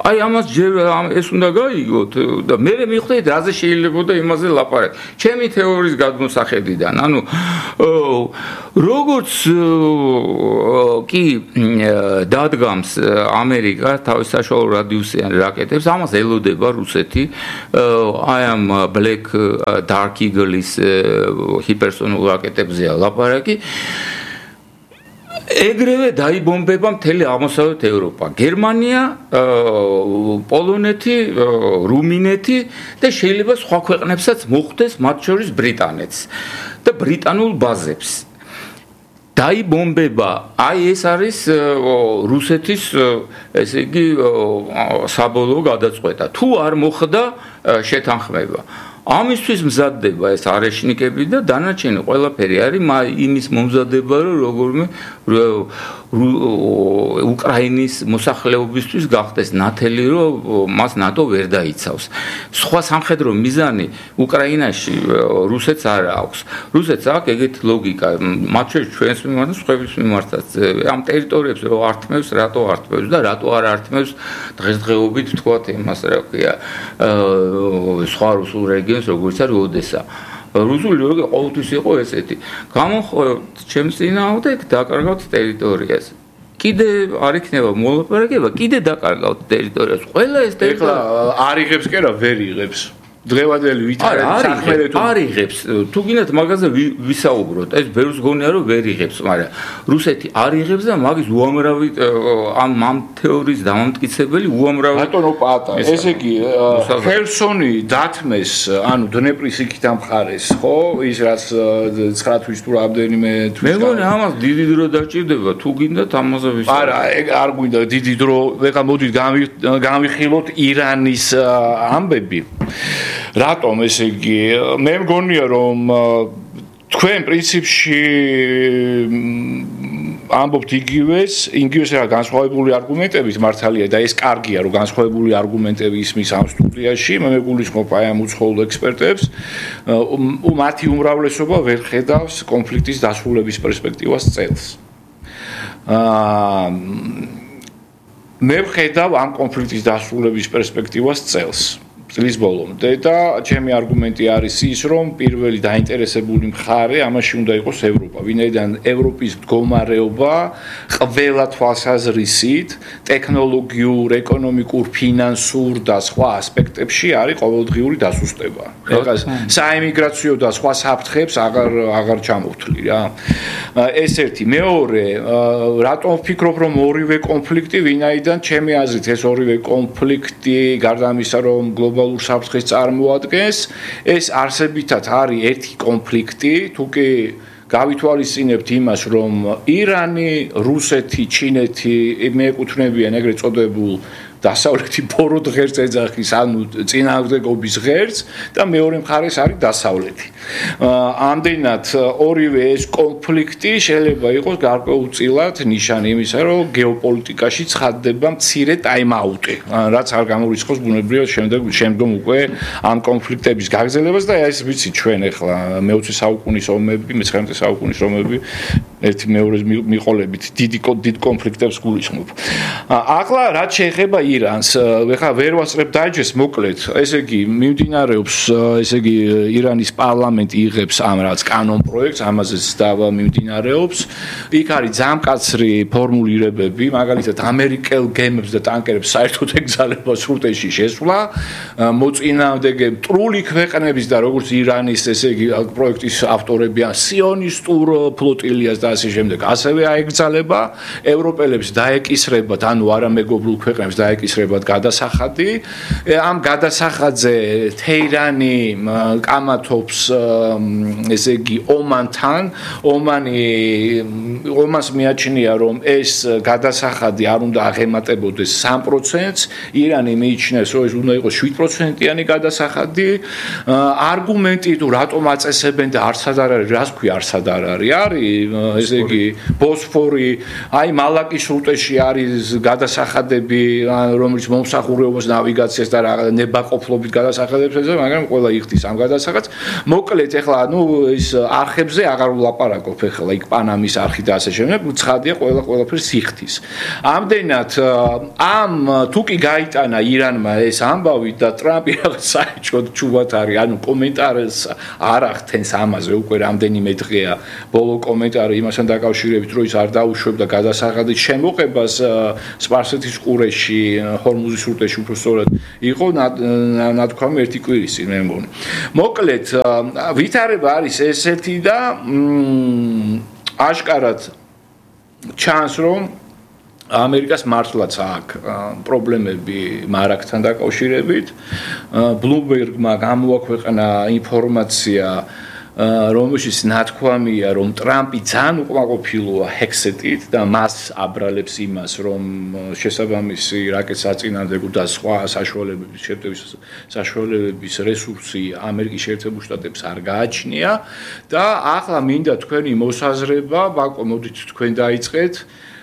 აი ამას ჯერ ეს უნდა გაიგოთ და მე მივხვდით რაზე შეიძლებოდა იმაზე ლაპარაკი. ჩემი თეორიის გადმოსახედიდან, ანუ როგორც კი დადგამს ამერიკა თავის საშუალო რადიუსიან რაკეტებს, ამას ელოდება რუსეთი. აი ამ Black Dark Eagle-ის ჰიპერსონულ რაკეტებზეა ლაპარაკი. ეგრევე დაიბომბება მთელი აღმოსავლეთ ევროპა, გერმანია, პოლონეთი, რუმინეთი და შეიძლება სხვა ქვეყნებსაც მოხვდეს, მათ შორის ბრიტანეთს და ბრიტანულ ბაზებს. დაიბომბება, აი ეს არის რუსეთის ესე იგი საბოლოო გადაწყვეტა. თუ არ მოხდა შეთანხმება. ამისთვის მზადდება ეს არეშნიკები და დანარჩენი ყველაფერი არის იმის მომზადება, რომ როგორმე უკრაინის მოსახლეობისთვის გახდეს ნათელი, რომ მას ნატო ვერ დაიცავს. სხვა სამხედრო მიზანი უკრაინაში რუსეთს არ აქვს. რუსეთს აქვს ეგეთი ლოგიკა, მათ შორის ჩვენს მიმართ და სხვების მიმართაც. ამ ტერიტორიებს რო ართმევს, რატო ართმევს და რატო არ ართმევს დღესდღეობით თქვათ იმას რა ქვია, სხვა რუსულ რეგიონს როგორც არის ოდესა. რუსული რეგიონი ყოველთვის იყო ესეთი. გამოხორებთ ჩემს წინააღმდეგ დაკარგავთ ტერიტორიას. კიდე არ იქნება მოლაპარაკება, კიდე დაკარგავთ ტერიტორიას. ყველა ეს ტერიტორია არ იღებს კი რა, ვერ იღებს. დღევანდელი ვითარების საქმე არ იღებს. თუ გინდათ მაგაზე ვისაუბროთ, ეს ბევრს გონია რომ ვერ იღებს, მაგრამ რუსეთი არ იღებს და მაგის უამრავი ამ თეორიის დამამტკიცებელი უამრავი ბატონო პატა, ესე იგი ხერსონი დათმეს, ანუ დნეპრის იქით ამხარეს, ხო? ის რაც 9 თვის თუ რამდენიმე თვის. მე მგონი ამას დიდი დრო დაჭირდება, თუ გინდათ ამაზე ვისაუბროთ. არა, არ გვინდა დიდი დრო, ეხლა მოდით გამიხილოთ ირანის ამბები. რატომ ესე იგი მე მგონია რომ თქვენ პრინციპში ამბობთ იგივეს რა განსხვავებული არგუმენტებით მართალია და ეს კარგია რომ განსხვავებული არგუმენტები ისმის ამ სტუდიაში მე მეგულისხმობ აი ამ უცხოელ ექსპერტებს მათი უმრავლესობა ვერ ხედავს კონფლიქტის დასრულების პერსპექტივას წელს მე ვხედავ ამ კონფლიქტის დასრულების პერსპექტივას წელს წლის ბოლომდე და ჩემი არგუმენტი არის ის, რომ პირველი დაინტერესებული მხარე ამაში უნდა იყოს ევროპა. ვინაიდან ევროპის მდგომარეობა ყველა თვალსაზრისით, ტექნოლოგიურ, ეკონომიკურ, ფინანსურ და სხვა ასპექტებში არის ყოველდღიური დასუსტება. ეხლა საემიგრაციო და სხვა საფრთხეებს აღარ ჩამოვთვლი რა. ეს ერთი, მეორე, რატომ ვფიქრობ, რომ ორივე კონფლიქტი, ვინაიდან ჩემი აზრით ეს ორივე კონფლიქტი გარდა ამისა, რომ გლობალურ საფრთხეს წარმოადგენს, ეს არსებითად არის ერთი კონფლიქტი, თუ კი გავითვალისწინებთ იმას, რომ ირანი, რუსეთი, ჩინეთი მიეკუთვნებიან ეგრეთ წოდებულ დასავლეთი ბოროტ ღერს ეძახის, ანუ წინააღმდეგობის ღერს და მეორე მხარეს არის დასავლეთი. ამდენად ორივე ეს კონფლიქტი შეიძლება იყოს გარკვეულწილად ნიშანი იმისა, რომ გეოპოლიტიკაში ცხადდება მცირე ტაიმ-აუტი, რაც არ გამორიცხავს ბუნებრივად შემდგომ უკვე ამ კონფლიქტების გაგრძელებას და ეს ვიცი ჩვენ ახლა მე-20 საუკუნის ომები, მე-19 საუკუნის ომები ერთი მეორეს მიყოლებით დიდ კონფლიქტებს გულისხმობ. ახლა რაც შეეხება ირანს, ეხლა ვერ ვასწრებ დაიჯეს მოკლედ, ესე იგი მიმდინარეობს, ესე იგი ირანის პარლამენტი იღებს ამ რაც კანონ პროექტს, ამაზეც დავა მიმდინარეობს. იქ არის ძამკაცრი ფორმულირებები, მაგალითად ამერიკელ გემებს და ტანკერებს საერთოდ ეგზალება სრუტეში შესვლა, მოწინააღმდეგე მტრული ქვეყნების და როგორც ირანის, ესე იგი პროექტის ავტორები ან სიონისტურ ფლოტილიას და ასე შემდეგ. ასევე აეგზალება ევროპელებს დაეკისრებათ, ანუ არამეგობრულ ქვეყნებს დაეკისრებათ გადასახადი. ამ გადასახადზე თეირანი კამათობს ესე იგი ომანთან. ომანს მიაჩნია რომ ეს გადასახადი არ უნდა აღემატებოდეს 3%-ს, ირანი მიიჩნევს რომ ეს უნდა იყოს 7%-იანი გადასახადი. არგუმენტი თუ რატომ აწესებენ და არცად არ არის, რას ქვია არცად არ არის? არის ესე იგი ბოსფორი, აი მალაკის სრუტეში არის გადასახადები, რომელიც მომსახურებობს ნავიგაციას და ნებაყოფლობით გადასახადებს ეძებს, მაგრამ ყველა იხდის ამ გადასახადს. მოკლედ ეხლა ის არხებზე აღარ ვლაპარაკობ ეხლა იქ პანამის არხი და ასე შემდეგ, ცხადია ყველაფერს იხდის. ამდენად ამ თუ კი გაიტანა ირანმა ეს ამბავი და ტრამპი რაღაც საერთოდ ჩუბად არის, ანუ კომენტარს არ ახდენს ამაზე უკვე რამდენიმე დღეა ბოლო კომენტარი იმასთან დაკავშირებით, რომ ის არ დაუშვებდა გადასახადის შემოღებას სპარსეთის ყურეში, ჰორმუზის სრუტეში უფრო სწორად იყო ნათქვამი ერთი კვირის წინ მე მგონი. მოკლედ ვითარება არის ესეთი და აშკარად ჩანს რომ ამერიკას მართლაც აქვს პრობლემები მარაგთან დაკავშირებით. ბლუმბერგმა გამოაქვეყნა ინფორმაცია რომელშიც ნათქვამია რომ ტრამპი ძალიან უკმაყოფილოა ჰექსეტით და მას აბრალებს იმას რომ შესაბამისი რაკეტს აწინააღმდეგო და სხვა საშუალებების რესურსი ამერიკის შეერთებულ შტატებს არ გააჩნია და ახლა მინდა თქვენი მოსაზრება ბაკო მოდით თქვენ დაიწყეთ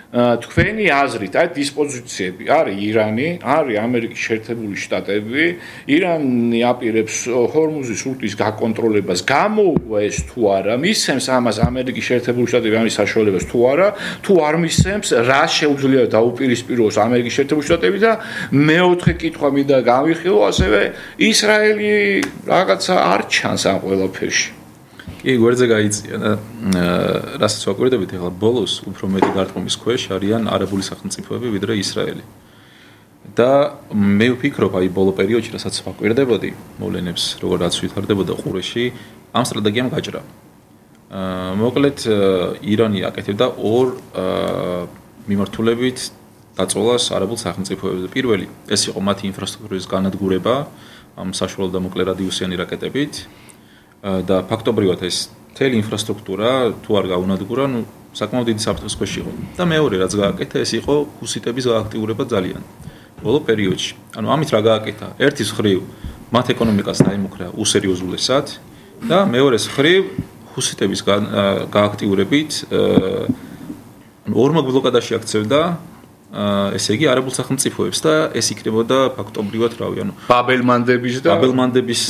თქვენი აზრით, აი დისპოზიციები არის ირანი, არის ამერიკის შეერთებული შტატები, ირანი აპირებს ჰორმუზის სრუტის გაკონტროლებას, გამოუვა ეს თუ არა, მისცემს ამას ამერიკის შეერთებული შტატები ამის საშუალებას თუ არა, თუ არ მისცემს, რა შეუძლია დაუპირისპიროს ამერიკის შეერთებული შტატები და მეოთხე კითხვა მინდა გავიხილო, ასევე ისრაელი რაღაცა არ ჩანს ამ ყველაფერში. კი, გვერდზე გაიწია და რასაც ვაკვირდებით ახლა ბოლოს უფრო მეტი დარტყმის ქვეშ არიან არაბული სახელმწიფოები ვიდრე ისრაელი. და მე ვფიქრობ, აი ბოლო პერიოდში რასაც ვაკვირდებოდი, მოვლენებს როგორაც ვითარდებოდა ყურეში, ამ სტრატეგიამ გაჭრა. მოკლედ ირანი აკეთებდა ორ მიმართულებით დაწოლას არაბულ სახელმწიფოებზე. პირველი, ეს იყო მათი ინფრასტრუქტურის განადგურება ამ საშუალო და მოკლე რადიუსიანი რაკეტებით. და ფაქტობრივად ეს მთელი ინფრასტრუქტურა თუ არ გაუნადგურა, ნუ საკმაოდ დიდი საფრთხის ქვეშ იყო. და მეორე რაც გააკეთა, ეს იყო ჰუსიტების გააქტიურება ძალიან ბოლო პერიოდში. ანუ ამით რა გააკეთა? ერთის მხრივ მათ ეკონომიკას დაიმუქრა უსერიოზულესად და მეორეს მხრივ ჰუსიტების გააქტიურებით ორმაგ ბლოკადაში აქცევდა ესე იგი არაბულ სახელმწიფოებს და ეს იქნებოდა ფაქტობრივად რავი, ანუ ბაბელმანდების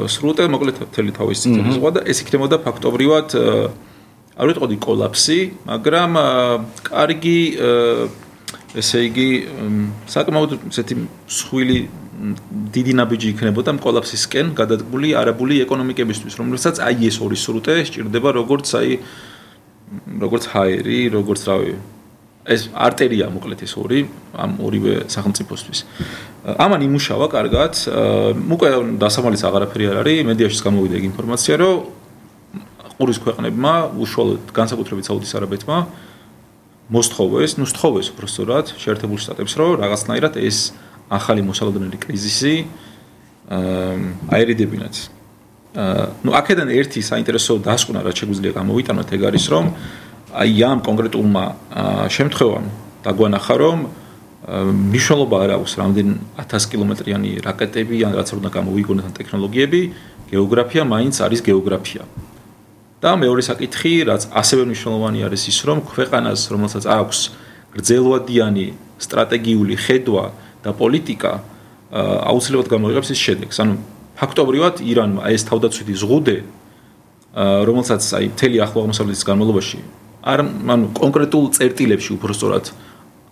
სრუტე, მოკლედ მთელი თავის წითელი ზღვა და ეს იქნებოდა ფაქტობრივად არ ვიტყოდი კოლაფსი, მაგრამ კარგი ესე იგი საკმაოდ ესეთი მსხვილი დიდი ნაბიჯი იქნებოდა კოლაფსისკენ გადადგმული არაბული ეკონომიკებისთვის, რომელსაც აი ეს ორი სრუტე სჭირდება როგორც ჰაერი, როგორც რავი ეს არტერია მოკლედ ეს ორი ამ ორივე სახელმწიფოსთვის. ამან იმუშავა კარგად, უკვე დასამალიც აღარაფერი არ არის, მედიაშიც გამოვიდა ეგ ინფორმაცია, რომ ყურის ქვეყნებმა, უშუალოდ განსაკუთრებით საუდის არაბეთმა მოსთხოვეს, უფრო სწორად, შეერთებულ შტატებს, რომ რაღაცნაირად ეს ახალი მოსალოდნელი კრიზისი აერიდებინათ. აქედან ერთი საინტერესო დასკვნა, რაც შეგვიძლია გამოვიტანოთ, ეგ არის, რომ აი ამ კონკრეტულმა შემთხვევამ დაგვანახა, რომ მნიშვნელობა არ აქვს რამდენი 1000 კილომეტრიანი რაკეტები ან რაც უნდა გამოვიგონოთ ან ტექნოლოგიები, გეოგრაფია მაინც არის გეოგრაფია. და მეორე საკითხი, რაც ასევე მნიშვნელოვანი არის ის, რომ ქვეყანას, რომელსაც აქვს გრძელვადიანი სტრატეგიული ხედვა და პოლიტიკა, აუცილებლად გამოიღებს ის შედეგს. ანუ ფაქტობრივად ირანმა ეს თავდაცვითი ზღუდე, რომელსაც აი მთელი ახლო აღმოსავლეთის განმავლობაში ანუ კონკრეტულ წერტილებში უფრო სწორად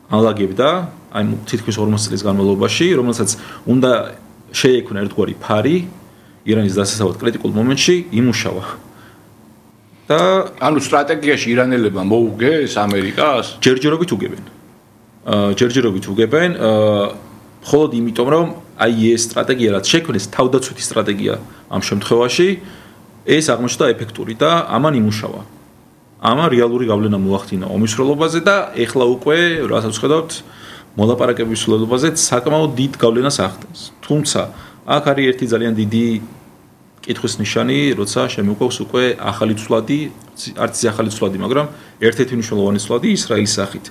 ალაგებდა, აი თითქმის 40 წლის განმავლობაში, რომელსაც უნდა შეექმნა ერთგვარი ფარი ირანის დასაცავად კრიტიკულ მომენტში იმუშავა. და ანუ სტრატეგიაში ირანელებმა მოუგეს ამერიკას? ჯერჯერობით უგებენ, მხოლოდ იმიტომ, რომ აი ეს სტრატეგია რაც შექმნეს, თავდაცვითი სტრატეგია ამ შემთხვევაში, ეს აღმოჩნდა ეფექტური და ამან იმუშავა. ამან რეალური გავლენა მოახდინა ომის სრულობაზე და ეხლა უკვე რასაც ხედავთ მოლაპარაკების სრულობაზე საკმაოდ დიდ გავლენას ახდენს. თუმცა აქ არის ერთი ძალიან დიდი კითხვის ნიშანი, როცა შემოგვაქვს უკვე ახალი ცვლადი, არც ახალი ცვლადი, მაგრამ ერთ-ერთი მნიშვნელოვანი ცვლადი ისრაელის სახით.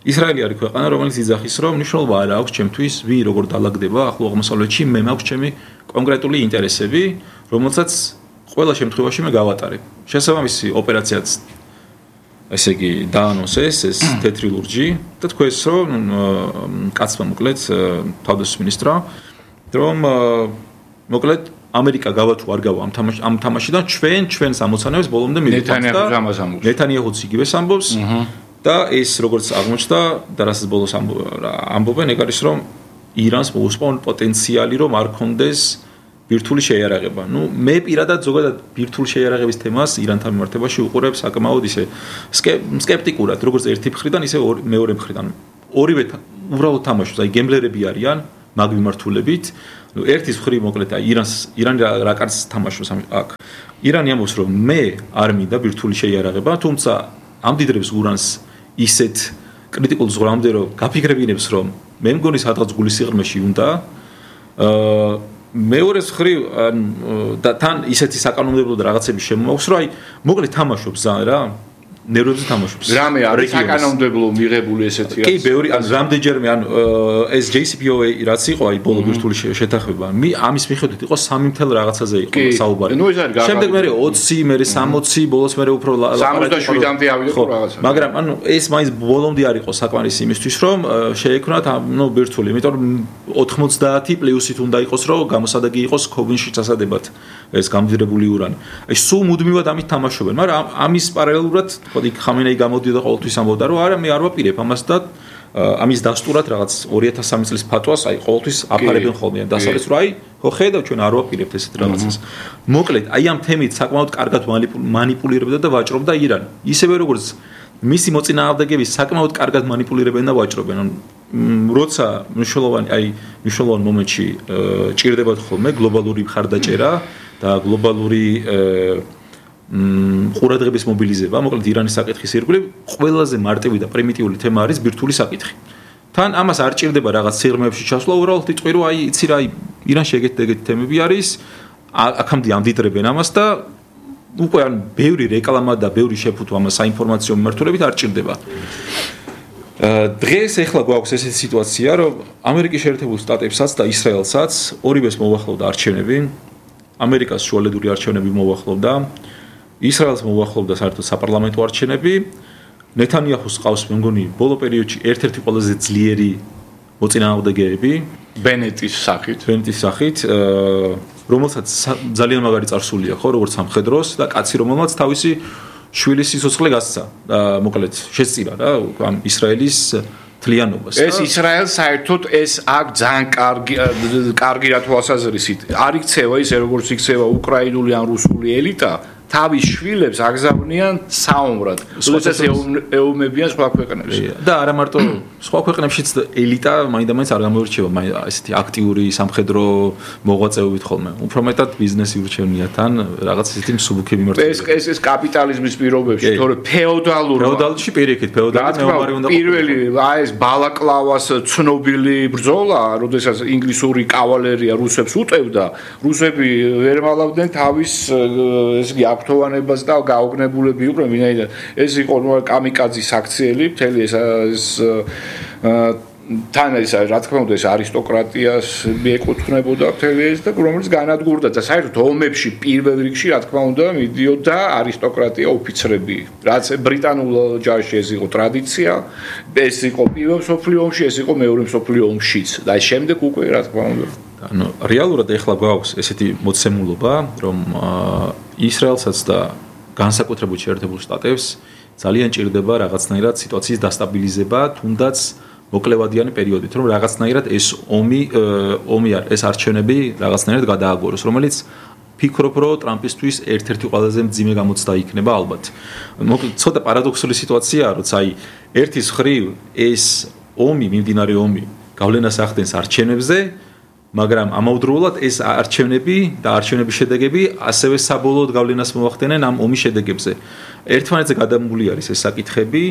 ისრაელი არის ქვეყანა, რომელიც იძახის, რომ მნიშვნელობა არ აქვს ჩემთვის, ვინ როგორ დაალაგდება ახლო აღმოსავლეთში, მე მაქვს ჩემი კონკრეტული ინტერესები, რომელსაც ყველა შემთხვევაში მე გავატარებ. შესაბამისი ოპერაციაც ესე იგი დაანონსეს ეს თეთრი ლურჯი და თქვენს რომ კაცმა მოკლედ თავდაცვის მინისტრმა რომ მოკლედ ამერიკა გავა თუ არ გავა ამ თამაშიდან ჩვენს ამოცანებს ბოლომდე მივიყვანთ ნეთანიაჰუც იგივეს ამბობს და ეს როგორც აღმოჩნდა და რასაც ბოლოს ამბობენ ეგ არის რომ ირანს მოუსპონ პოტენციალი რომ არ კონდეს ბირთვული შეიარაღება. ნუ მე პირადად ზოგადად ბირთვული შეიარაღების თემას ირანთან მიმართებაში უყურებ საკმაოდ ისე სკეპტიკურად, როგორც ერთი მხრიდან, ისე მეორე მხრიდან. ორივე უბრალოდ თამაშობს, აი გემბლერები არიან მაგ მიმართულებით. ნუ ერთის მხრივ მოკლედ აი ირანი რა კარს თამაშობს აქ. ირანი ამბობს რომ მე არ მინდა ბირთვული შეიარაღება, თუმცა ამდიდრებს ურანს ისეთ კრიტიკულ ზღვრამდე რომ გაფიქრებინებს რომ მე მგონი სადღაც გულის სიღრმეში უნდა მეორეს მხრივ და თან ისეთი საკანონმდებლო და რაღაცები შემოაქვს, რომ აი მოკლედ თამაშობს რა, ნერვებზე თამაშობს. რამე არის საკანონმდებლო მიღებული ესეთი რაც. კი, ბევრი რამდენჯერმე ეს JCPOA რაც იყო, აი ბოლო ბირთვული შეთანხმება, ამის მიხედვით იყო 3 რაღაცაზე იყო საუბარი. შემდეგ მე 20, მე 60, ბოლოს მე უფრო 67-მდე ავიდო რაღაცა. მაგრამ ანუ ეს მაინც ბოლომდე არ იყო საკმარისი იმისთვის, რომ შეექმნათ ბირთვული, იმიტომ რომ 90 პლუსით უნდა იყოს, რომ გამოსადეგი იყოს ქობინში წასადებად ეს გამდიდრებული ურანი. აი სულ მუდმივად ამით თამაშობენ, მაგრამ ამის პარალელურად ხოდი ხამენეი გამოდიოდა ყოველთვის ამბობდა რომ არა მე არ ვაპირებ ამას და ამის დასტურად რაღაც 2003 წლის ფატვას აი ყოველთვის აფარებენ ხოლმე დასავლეთს რომ აი ხო ხედავ ჩვენ არ ვაპირებთ ესეთ რაღაცას მოკლედ აი ამ თემით საკმაოდ კარგად მანიპულირებდა და ვაჭრობდა ირანი ისევე როგორც მისი მოწინააღმდეგები საკმაოდ კარგად მანიპულირებენ და ვაჭრობენ როცა მნიშვნელოვან მომენტში ჭირდებათ ხოლმე გლობალური მხარდაჭერა და გლობალური ყურადღების მობილიზება, მოკლედ ირანის საკითხის ირგვლივ ყველაზე მარტივი და პრიმიტიული თემა არის ბირთვული საკითხი. თან ამას არ ჭირდება რაღაც სიღრმეებში ჩასვლა, უბრალოდ იტყვი რომ აი იცი რა ირანში ეგეთი თემები არის, აქამდე ამდიდრებენ ამას და უკვე ან ბევრი რეკლამა და ბევრი შეფუთვა ამას საინფორმაციო მიმართულებით არ ჭირდება. დღეს ეხლა გვაქვს ესეთი სიტუაცია, რომ ამერიკის შეერთებულ შტატებსაც და ისრაელსაც ორივეს მოუახლოვდა არჩევნები, ამერიკას შუალედური არჩევნები მოუახლოვდა ისრაელს მოუახლოვდა საერთოდ საპარლამენტო არჩევნები. ნეთანიაჰუს ყავს მე მგონი ბოლო პერიოდში ერთ-ერთი ყველაზე ძლიერი მოწინააღმდეგეები ბენეტის სახით, რომელსაც ძალიან მაგარი წარსულია ხო, როგორც სამხედროს და კაცი რომელმაც თავისი შვილის სიცოცხლე გასცა. მოკლედ შესწირა რა ამ ისრაელის თლიანობას. ეს ისრაელს საერთოდ ეს აქ ძალიან კარგი რა თვალსაზრისით არ იქცევა ისე როგორც იქცევა უკრაინული ან რუსული ელიტა თავის შვილებს აგზავნიან საომრად. როდესაც ეომებიან სხვა ქვეყნებში. და არა მარტო სხვა ქვეყნებშიც ელიტა მაინდა-მაინც არ გამოირჩევა ესეთი აქტიური სამხედრო მოღვაწეობით ხოლმე. უფრო მეტად ბიზნესი ურჩევნია თან რაღაც ესეთი მსუბუქი მიმართულებით. ეს კაპიტალიზმის პირობებში, თორე ფეოდალში პირიქით, ფეოდალი მეომარი უნდა პირველი ეს ბალაკლავას ცნობილი ბრძოლა, როდესაც ინგლისური კავალერია რუსებს უტევდა, რუსები ვერ მალავდნენ თავის ეს აქტოვანებას და გაოგნებულები იყვნენ, ვინაიდან ეს იყო კამიკაძის აქციელი, მთელი ეს თან ეს რა თქმა უნდა ეს არისტოკრატიას მიეკუთვნებოდა მთელი ეს და რომელიც განადგურდა და საერთოდ ომებში პირველ რიგში რა თქმა უნდა მიდიოდა არისტოკრატია ოფიცრები, რაც ბრიტანულ ჯარში ეს იყო ტრადიცია, ეს იყო პირველ მსოფლიო ომში, ეს იყო მეორე მსოფლიო ომშიც და შემდეგ უკვე რა თქმა უნდა ანუ რეალურად ეხლა გვაქვს ესეთი მოცემულობა, რომ ისრაელსაც და განსაკუთრებულ შეერთებულ შტატებს ძალიან ჭირდება რაღაცნაირად სიტუაციის დასტაბილიზება, თუნდაც მოკლევადიანი პერიოდით, რომ რაღაცნაირად ეს ეს არჩევნები რაღაცნაირად გადააგოროს, რომელიც ფიქრობ, რომ ტრამპისთვის ერთ-ერთი ყველაზე მძიმე გამოცდა იქნება ალბათ. მოკლედ ცოტა პარადოქსული სიტუაციაა, როცა აი ერთის მხრივ ეს მიმდინარე ომი გავლენას ახდენს არჩევნებზე მაგრამ ამავდროულად ეს არჩევნები და არჩევნების შედეგები ასევე საბოლოოდ გავლენას მოახდენენ ამ ომის შედეგებზე. ერთმანეთზე გადამული არის ეს საკითხები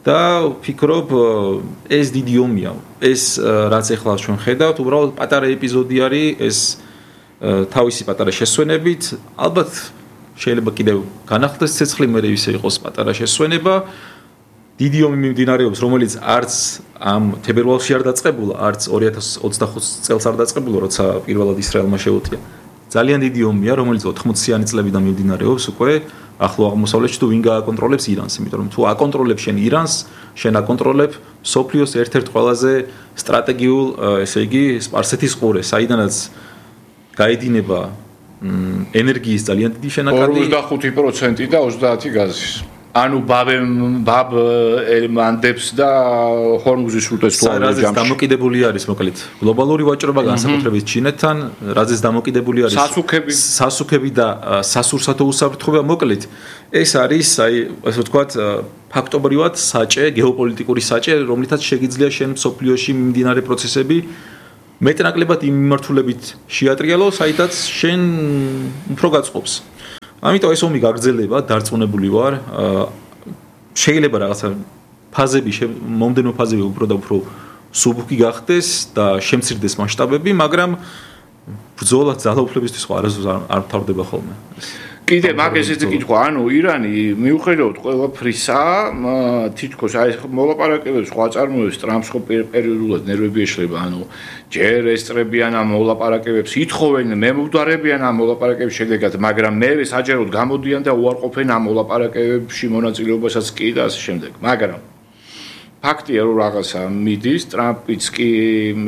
და ვფიქრობ ეს დიდი ომია. ეს რაც ახლა ჩვენ ხედავთ, უბრალოდ პატარა ეპიზოდი არის ეს თავისი პატარა შესვენებით, ალბათ შეიძლება კიდევ განახლდეს ცეცხლი, მე ისე იყოს პატარა შესვენება. დიდი ომი მიმდინარეობს, რომელიც არც ამ თებერვალში არ დაწყებულა, არც 2025 წელს არ დაწყებულა, როცა პირველად ისრაელმა შეუტია. ძალიან დიდი ომია, რომელიც 80-იანი წლებიდან მიმდინარეობს უკვე ახლო აღმოსავლეთში თუ ვინ გააკონტროლებს ირანს, იმიტომ რომ თუ აკონტროლებს შენ ირანს, შენ აკონტროლებ სოფლიოს ერთ-ერთ ყველაზე სტრატეგიულ, ესე იგი, სპარსეთის ყურეს, საიდანაც გაედინება ენერგიის ძალიან დიდი შენაკადი 45% და 30 გაზის. ანუ ბაბ ელმანდებს და ჰორმუზის სრუტეს თუ არ არის დამოკიდებული არის მოკლედ გლობალური ვაჭრობა განსაკუთრებით ჩინეთთან, რაზეც დამოკიდებული არის სასუქები და სასურსათო უსაფრთხოება მოკლედ ეს არის აი ასე ვთქვათ ფაქტობრივად საჭე, გეოპოლიტიკური საჭე, რომლითაც შეგიძლია შენ სოფლიოში მიმდინარე პროცესები მეტნაკლებად იმ მიმართულებით შეატრიალო, საიდანაც შენ უფრო გაწყობს. ამიტომ ეს ომი გაგრძელება, დარწმუნებული ვარ. შეიძლება რაღაცა ფაზები, მომდენო ფაზები უფრო და უფრო სუბუქი გახდეს და შემცირდეს მასშტაბები, მაგრამ ბრძოლა ძალაუფლებისთვის ხო არასდროს არ თავდება ხოლმე. კიდე მაგ ესეთი კითხვა, ანუ ირანი მიუხედავად ყველაფრისა, თითქოს აი მოლაპარაკებებს სხვა წარმოებს ტრამპს ხო პერიოდულად ნერვები ეშლება, ანუ ჯერ ესწრებიან ამ მოლაპარაკებებს, ითხოვენ მემკვდარებიან ამ მოლაპარაკების შედეგად, მაგრამ მერე საჯაროდ გამოდიან და უარყოფენ ამ მოლაპარაკებებში მონაწილეობასაც კი და ასე შემდეგ. მაგრამ ფაქტია რომ რაღაცა მიდის, ტრამპიც კი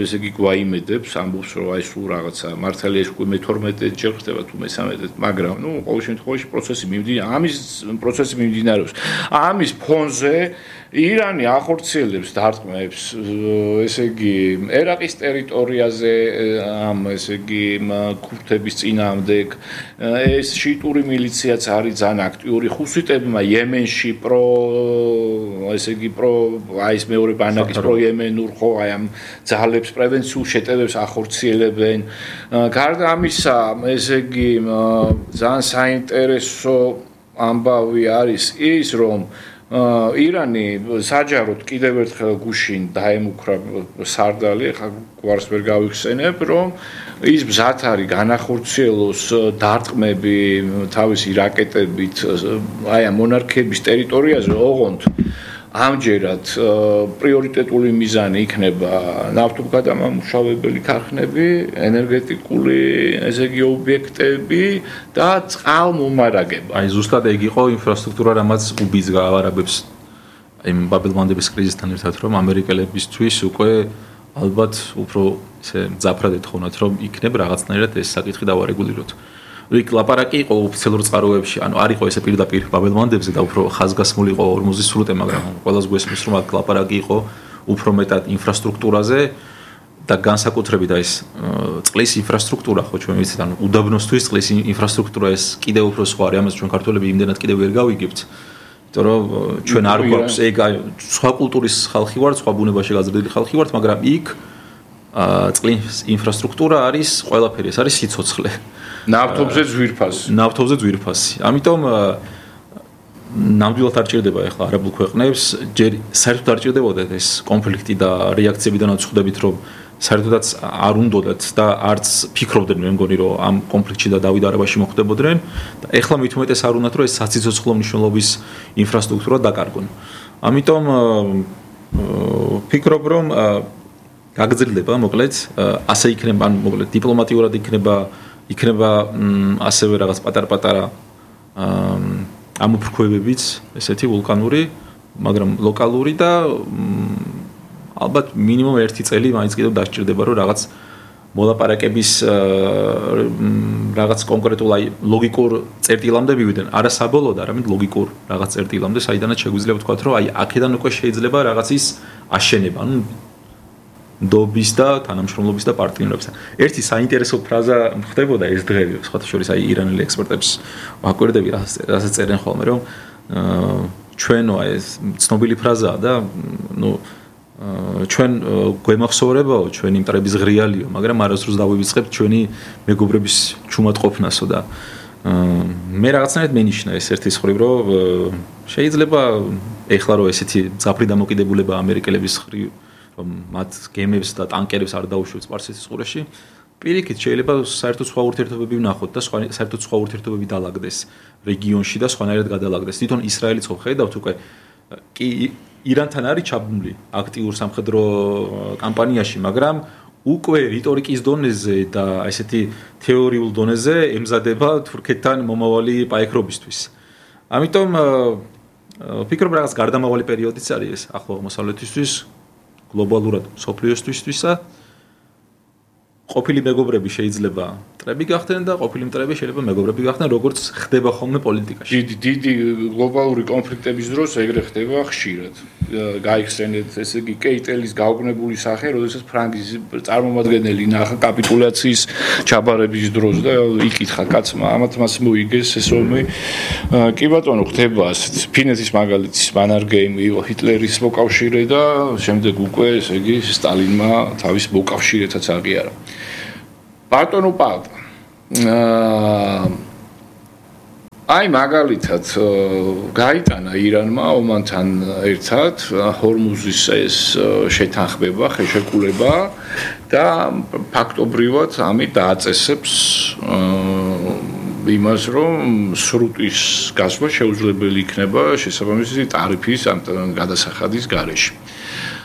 ესე იგი გვაიმედებს, ამბობს რომ აი სულ რაღაცა მართალია ეს უკვე მე-12 ჯერ ხდება თუ მე-13, მაგრამ ნუ ყოველ შემთხვევაში პროცესი მიმდინარეობს. ამის ფონზე ირანი ახორციელებს დარტყმებს, ესე იგი ერაყის ტერიტორიაზე ამ ესე იგი ქურთების წინააღმდეგ, ეს შიტური მილიციაც არის ძალიან აქტიური, ხუსიტებმა იემენში ესე იგი აი ეს მეორე ბანაკის პროიემენურ ხო აი ამ ძალებს პრევენციულ შეტევებს ახორციელებენ. გარდა ამისა, ესე იგი ძალიან საინტერესო ამბავი არის ის, რომ ირანი საჯაროდ კიდევ ერთხელ გუშინ დაემუქრა სარდალი, ხა გვარს ვერ გავიხსენებ, რომ ის მზად არის განახორციელოს დარტყმები თავისი რაკეტებით აი ამ მონარქიების ტერიტორიაზე, ოღონდ ამჯერად პრიორიტეტული მიზანი იქნება ნავთობგადამამუშავებელი ქარხნები, ენერგეტიკული ესე იგი ობიექტები და წყალმომარაგება. აი ზუსტად ეგ იყო ინფრასტრუქტურა, რამაც უბის გაავარებებს აი ბაბელმანდების კრიზისთან ერთად, რომ ამერიკელებისთვის უკვე ალბათ უფრო ესე მძაფრად ეთხოვნათ, რომ იქნებ რაღაცნაირად ეს საკითხი დავარეგულიროთ. იქ ლაპარაკი იყო ოფიციალურ წყაროებში, ანუ არ იყო ესე პირდაპირ ბაბელმანდებზე და უფრო ხაზგასმული იყო ორმოზის სრუტე, მაგრამ ყველას გვესმის რომ აქ ლაპარაკი იყო უფრო მეტად ინფრასტრუქტურაზე და განსაკუთრებით ეს წყლის ინფრასტრუქტურა, ხო ჩვენ ვიცით, ანუ უდაბნოსთვის წყლის ინფრასტრუქტურა ეს კიდევ უფრო სხვა არის, ამას ჩვენ ქართველები იმდენად კიდევ ვერ გავიგებთ. იმიტომ რომ ჩვენ არ გვაქვს ეგ სხვა კულტურის ხალხი ვართ, სხვა ბუნებაში გაზრდილი ხალხი ვართ, მაგრამ იქ წყლის ინფრასტრუქტურა არის ყველაფერი, ეს არის სიცოცხლე. ნავთობზე ძვირფასი. ამიტომ ნამდვილად არ ჭირდება ახლა არაბულ ქვეყნებს, ჯერ საერთოდ არ ჭირდებოდათ ეს კონფლიქტი და რეაქციები და ნაცვლადებით, რომ საერთოდაც არ უნდოდათ და არც ფიქრობდნენ მე მგონი, რომ ამ კონფლიქტში და დავით არაბაში მოხდებოდნენ და ახლა მით უმეტეს არ უნდათ, რომ ეს საციცოცხლო მნიშვნელობის ინფრასტრუქტურა დაკარგონ. ამიტომ ფიქრობ, რომ გაგრძელდება მოკლედ, ასე იქნება, ან მოკლედ დიპლომატიურად იქნება ასევე რაღაც პატარ-პატარა ამოფრქვევებიც, ესეთი ვულკანური, მაგრამ ლოკალური და ალბათ მინიმუმ 1 წელი მაინც კიდევ დასჭირდება, რომ რაღაც მოლაპარაკების რაღაც კონკრეტულ აი ლოგიკურ წერტილამდე მივიდნენ. არა საბოლოოდ, არამედ ლოგიკურ რაღაც წერტილამდე, საიდანაც შეგვიძლია ვთქვათ, რომ აი აქედან უკვე შეიძლება რაღაცის აშენება, ანუ დობის და თანამშრომლობის და პარტნიორობისა. ერთი საინტერესო ფრაზა ხდებოდა ეს დღეები, სხვათა შორის აი ირანელი ექსპერტებს ვაკვირდები, რასაც წერენ ხოლმე, რომ ჩვენო ეს ცნობილი ფრაზაა და ნუ ჩვენ გვემახსოვრებაო ჩვენი მტრების ღრიალიო, მაგრამ არასდროს დავივიწყებთ ჩვენი მეგობრების ჩუმატყოფნასო და მე რაღაცნაირად მენიშნა ეს ერთის ხრივ, რომ შეიძლება ეხლა რომ ესეთი ძაფრი დამოკიდებულება ამერიკელების ხრივ, რომ მათ გემებს და ტანკერებს არ დაუშვებს სპარსეთის ყურეში, პირიქით შეიძლება საერთოდ სხვა ურთიერთობები ვნახოთ და საერთოდ სხვა ურთიერთობები დაალაგდეს რეგიონში და სხვანაირად გადაალაგდეს. თვითონ ისრაელიც ხო ხედავთ უკვე კი ირანთან არის ჩაბმული აქტიურ სამხედრო კამპანიაში, მაგრამ უკვე რიტორიკის დონეზე და ესეთი თეორიულ დონეზე ემზადება თურქეთთან მომავალი პაექრობისთვის. ამიტომ ვფიქრობ რაღაც გარდამავალი პერიოდიც არის ეს ახლო აღმოსავლეთისთვის, გლობალურად სოფლიოსთვისთვისა. ყოფილი მეგობრები შეიძლება მტრები გახდნენ და ყოფილი მტრები შეიძლება მეგობრები გახდნენ, როგორც ხდება ხოლმე პოლიტიკაში. დიდი გლობალური კონფლიქტების დროს ეგრე ხდება ხშირად. გაიხსენეთ, ესე იგი, კეიტელის გაუგნებული სახე, როდესაც ფრანგის წარმომადგენელი ნახა კაპიტულაციის ჩაბარების დროს და იკითხა კაცმა, ამათ მას მოიგეს ეს ომი. კი ბატონო, ხდება ასეთ ფინეთის მაგალითის მანარგეიმი იყო ჰიტლერის მოკავშირე და შემდეგ უკვე, ესე იგი, სტალინმა თავის მოკავშირეთაც აღიარა. ბატონო პალტა აი მაგალითად გაიტანა ირანმა ომანთან ერთად ჰორმუზის ეს შეთანხმება, ხელშეკრულება და ფაქტობრივად ამით დააწესებს იმას, რომ სრუტის გასვლა შეუძლებელი იქნება შესაბამისი ტარიფის ამ გადასახადის გარეშე.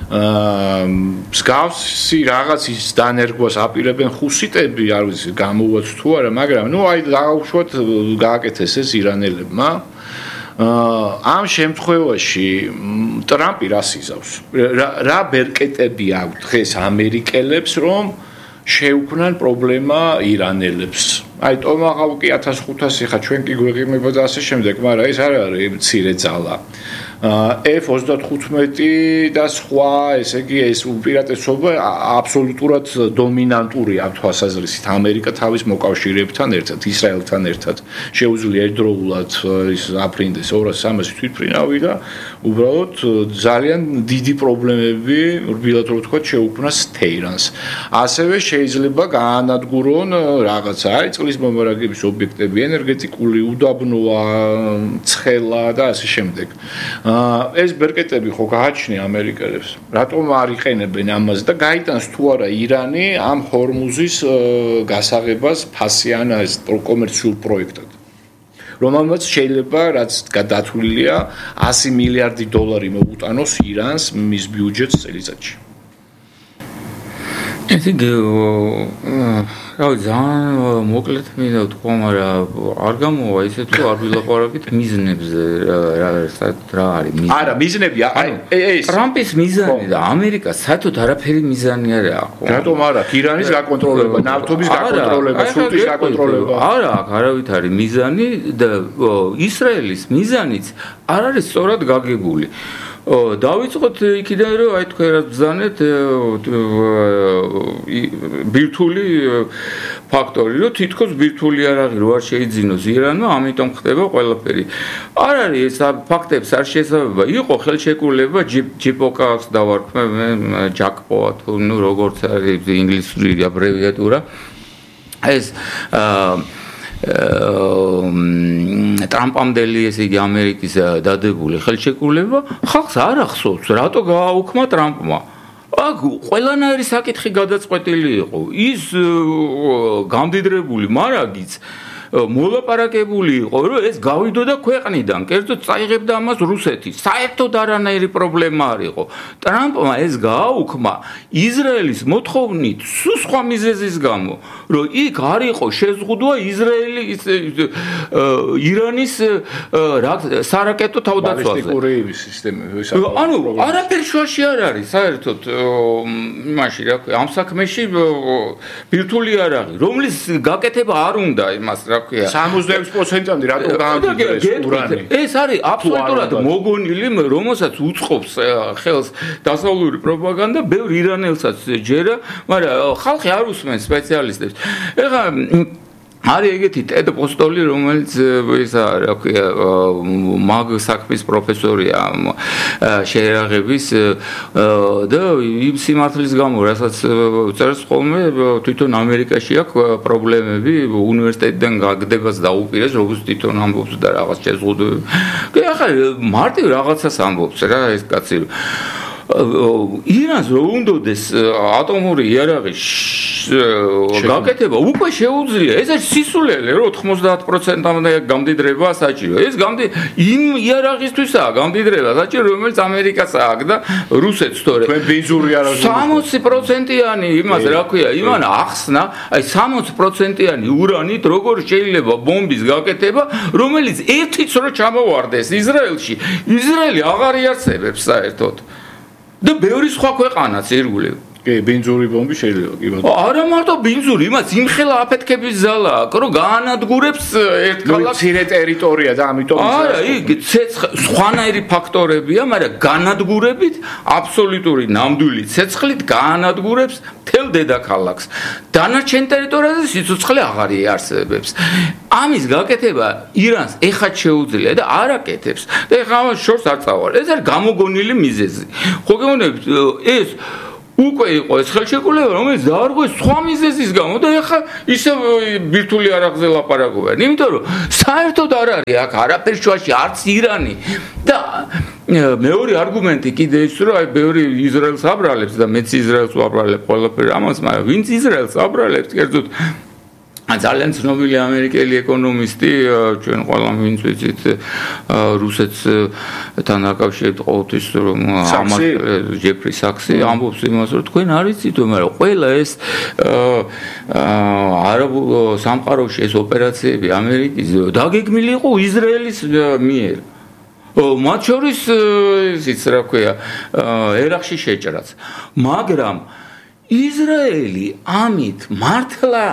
მსგავსი რაღაცის დანერგვას აპირებენ ხუსიტები, არ ვიცი, გამოვაც თუ არა, მაგრამ აი დაუშვათ გააკეთეს ეს ირანელებმა. ამ შემთხვევაში ტრამპი რას იზავს? რა ბერკეტები აქვს დღეს ამერიკელებს, რომ შეუქმნან პრობლემა ირანელებს? აი ტომაჰავკი 1500 ხა ჩვენ კი გვეღიმება და ასე შემდეგ, მაგრამ ეს არ არის მცირე ძალა. F-35 და სხვა, ესე იგი, ეს უპირატესობა აბსოლუტურად დომინანტურია ამ თვალსაზრისით. ამერიკა თავის მოკავშირეებთან ერთად, ისრაელთან ერთად შეუძლია ერთდროულად ის აფრინდეს 200-300 თვითმფრინავი და უბრალოდ ძალიან დიდი პრობლემები, რბილად რო ვთქვათ, შეუქმნას თეირანს. ასევე შეიძლება გაანადგურონ რაღაცა, აი წყლის მომარაგების ობიექტები, ენერგეტიკული უდაბნოა, ცხელა და ასე შემდეგ. ეს ბერკეტები ხო გააჩნია ამერიკელებს. რატომ არ იყენებენ ამას და გაიტანს თუ არა ირანი ამ ჰორმუზის გასაღებას ფასიან ეს კომერციულ პროექტად. რომელმაც შეიძლება რაც გადათვლილია 100 მილიარდი დოლარი მოუტანოს ირანს მის ბიუჯეტს წელიწადში. ეს იგი რავი ძალიან მოკლედ მინდა ვთქვა, მაგრამ არ გამოვა ისე თუ არ ვილაპარაკით მიზნებზე რა არის მიზნი. არა, მიზნები აი ეს ტრამპის მიზანი და ამერიკას საერთოდ არაფერი მიზანი არ აქვს. რატომ არა? ირანის გაკონტროლება, ნავთობის გაკონტროლება, სრუტის გაკონტროლება. არა, არავით არის მიზანი და ისრაელის მიზანიც არ არის სწორად გაგებული. დავიწყოთ იქიდან რომ აი თქვენ რა ბრძანეთ ბირთვული ფაქტორი, რომ თითქოს ბირთვული არაღი რო არ შეიძინოს ირანმა, ამიტომ ხდება ყველაფერი. არ არის ეს ფაქტებს არ შესაძლოა იყო ხელშეკრულება ჯიპოკას დავარქმე ჯაკპოა თუ ნუ როგორც არის ინგლისური აბრევიატურა ეს ტრამპამდელი ესე იგი ამერიკის დადებული ხელშეკრულება ხალხს არ ახსოვს რატო გააუქმა ტრამპმა. აქ ყველანაირი საკითხი გადაწყვეტილი იყო. ის გამდიდრებული მარაგიც მოლაპარაკებული იყო, რომ ეს გავიდოდა ქვეყნიდან, კერძოდ წაიღებდა ამას რუსეთი. საერთოდ არანაირი პრობლემა არ იყო. ტრამპმა ეს გააუქმა ისრაელის მოთხოვნით სულ სხვა მიზეზის გამო, რომ იქ არ იყო შეზღუდვა ისრაელის ირანის სარაკეტო თავდაცვაზე. ბალისტიკური სისტემები. ანუ არაფერი შუაში არ არის საერთოდ იმაში რა ქვია, ამ საქმეში ბირთვული არაღი, რომლის გაკეთება არ უნდა იმას 66%-ამდე რატომ გაამჯერეს ურანი? ეს არის აბსოლუტურად მოგონილი, რომელსაც უწყობს ხელს დასავლური პროპაგანდა, ბევრ ირანელსაც ჯერა, მაგრამ ხალხი არ უსმენს სპეციალისტებს. ეხლა არის ეგეთი ტედ პოსტოლი, რომელიც ისა რა ქვია, მაგ საქმის პროფესორია შეერაღების და იმ სიმართლის გამო, რასაც წერს ხოლმე, თვითონ ამერიკაში აქვს პრობლემები, უნივერსიტეტიდან გაგდებას დაუპირეს, როგორც თვითონ ამბობს და რაღაც შეზღუდვები. ახლა მარტივ რაღაცას ამბობს რა ეს კაცი. ირანს რომ უნდოდეს ატომური იარაღის გაკეთება უკვე შეუძლია. ეს არის სისულელე, რომ 90%-მდე გამდიდრება საჭირო. ეს იმ იარაღისთვისაა გამდიდრება საჭირო, რომელიც ამერიკას აქვს და რუსეთს თორე. თქვენ ბენზური იარაღი 60%-იანი იმას რა ქვია, იმან ახსნა, აი 60%-იანი ურანით როგორ შეიძლება ბომბის გაკეთება, რომელიც ერთიც რო ჩამოვარდეს ისრაელში, ისრაელი აღარ იარსებებს საერთოდ. და ბევრი სხვა ქვეყანაც ირგვლივ. კი, ბენზური ბომბი შეიძლება კი ბატონო. არა მარტო ბენზური, იმას იმხელა აფეთქების ზალა აქვს, რომ გაანადგურებს ერთ ქალაქს. მცირე ტერიტორია და ამიტომ არა, იქ სხვანაირი ფაქტორებია, მაგრამ განადგურებით აბსოლუტური ნამდვილი ცეცხლით გაანადგურებს მთელ დედაქალაქს. დანარჩენ ტერიტორიაზე სიცოცხლე აღარ იარსებებს. ამის გაკეთება ირანს ეხა შეუძლია და არ აკეთებს. და ეხა ამას შორს არ წავალ. ეს არის გამოგონილი მიზეზი. ხო გეუბნებით, ეს უკვე იყო ეს ხელშეკრულება, რომელიც დაარღვეს სხვა მიზეზის გამო და ეხლა ისე ბირთვული არაღზე ლაპარაკობენ. იმიტომ რომ საერთოდ არ არის აქ არაფერ შუაში არც ირანი და მეორე არგუმენტი კიდე ის რომ აი ბევრი ისრაელს აბრალებს და მეც ისრაელს ვაბრალებ ყველაფერი ამას, მაგრამ ვინც ისრაელს აბრალებს, კერძოდ ძალიან ცნობილი ამერიკელი ეკონომისტი, ჩვენ ყველა ვინც ვიცით რუსეთთან დაკავშირებით ყოველთვის რომ ამას ჯეფრი საქსი ამბობს იმას რომ თქვენ არ იცით მაგრამ ყველა ეს არაბულ სამყაროში ეს ოპერაციები ამერიკის დაგეგმილი იყო ისრაელის მიერ. მათ შორის ისიც რა ქვია ერაყში შეჭრაც. მაგრამ ისრაელი ამით მართლა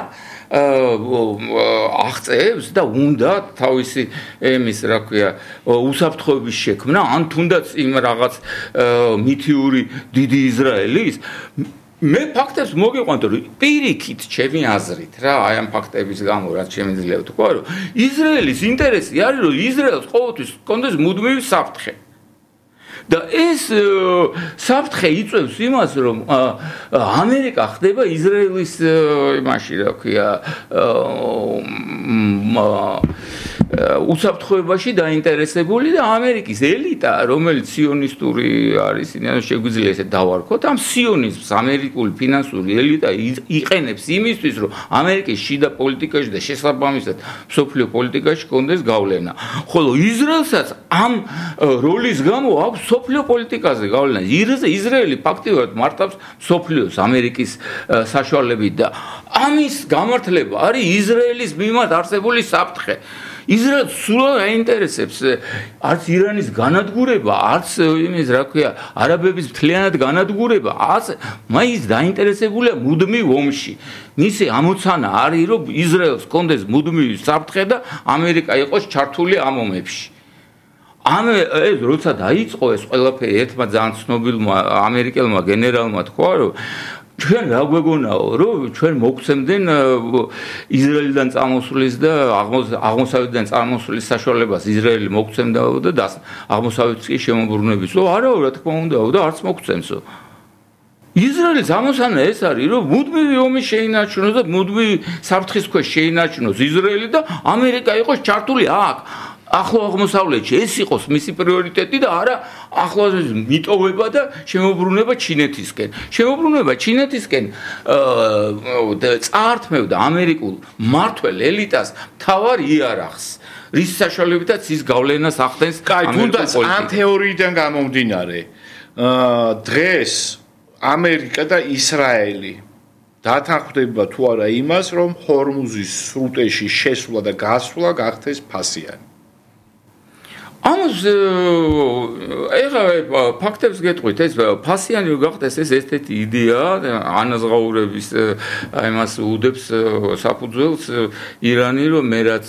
აღწევს და უნდა თავისი ემის რა ქვია უსაფრთხოების შექმნა ან თუნდაც იმ რაღაც მითიური დიდი ისრაელის მე ფაქტებს მოგიყვანთ რომ პირიქით ჩემი აზრით რა აი ამ ფაქტების გამო რაც შემიძლია ვთქვა რომ ისრაელის ინტერესი არის რომ ისრაელს ყოველთვის კონდეს მუდმივი საფრთხე და ეს საფრთხე იწვევს იმას რომ ამერიკა ხდება ისრაელის იმაში რა ქვია უსაფრთხოებაში დაინტერესებული და ამერიკის ელიტა რომელიც სიონისტური არის შეგვიძლია ესე დავარქოთ ამ სიონიზმს ამერიკული ფინანსური ელიტა იყენებს იმისთვის რომ ამერიკის შიდა პოლიტიკაში და შესაბამისად მსოფლიო პოლიტიკაში კონდეს გავლენა ხოლო ისრაელსაც ამ როლის გამო აქვს მსოფლიო პოლიტიკაზე გავლენა ისრაელი ფაქტიურად მართავს მსოფლიოს ამერიკის საშუალებით და ამის გამართლება არის ისრაელის მიმართ არსებული საფრთხე ისრაელს სულ აინტერესებს არც ირანის განადგურება, არც იმის რა ქვია, არაბების მთლიანად განადგურება, არც მაინც დაინტერესებულია მუდმივ ომში. მისი ამოცანა არის, რომ ისრაელს კონდეს მუდმივი საფრთხე და ამერიკა იყოს ჩართული ამ ომებში. ეს როცა დაიწყო ეს ყველაფერი ერთმა ძალიან ცნობილმა ამერიკელმა გენერალმა თქვა, რომ ჩვენ რა გვეგონაო რომ ჩვენ მოგცემდნენ ისრაელიდან წამოსulis და აღმოსავლეთიდან წამოსulis საშუალებას ისრაელი მოგცემდაო და აღმოსავლეთის კი შემოbrunebisო არაო რა თქმა უნდაო და არც მოგცემსო ისრაელის ამოცანა ეს არის რომ მუდმივი ომი შეინარჩუნოს და მუდმივი საფრთხის ქვეშ შეინარჩუნოს ისრაელი და ამერიკა იყოს ჩართული აქ ახლო აღმოსავლეთში ეს იყოს მისი პრიორიტეტი და არა ახლო მიტოვება და შემოbrunება ჩინეთისკენ. შემოbrunება ჩინეთისკენ წაართმევდა ამერიკულ მმართველ ელიტას თავარ იარაღს. რის საშუალებითაც ის გავლენას ახდენს თუნდაც ამ თეორიიდან გამომდინარე დღეს ამერიკა და ისრაელი დათანხმდება თუ არა იმას რომ ჰორმუზის სრუტეში შესვლა და გასვლა გახდეს ფასიანი. ამას ეხლა ფაქტებს გეტყვით, ეს ფასიანი გახდეს ეს ერთ-ერთი იდეა ანაზღაურების აი მას უდებს საფუძველს ირანი რომ მე რაც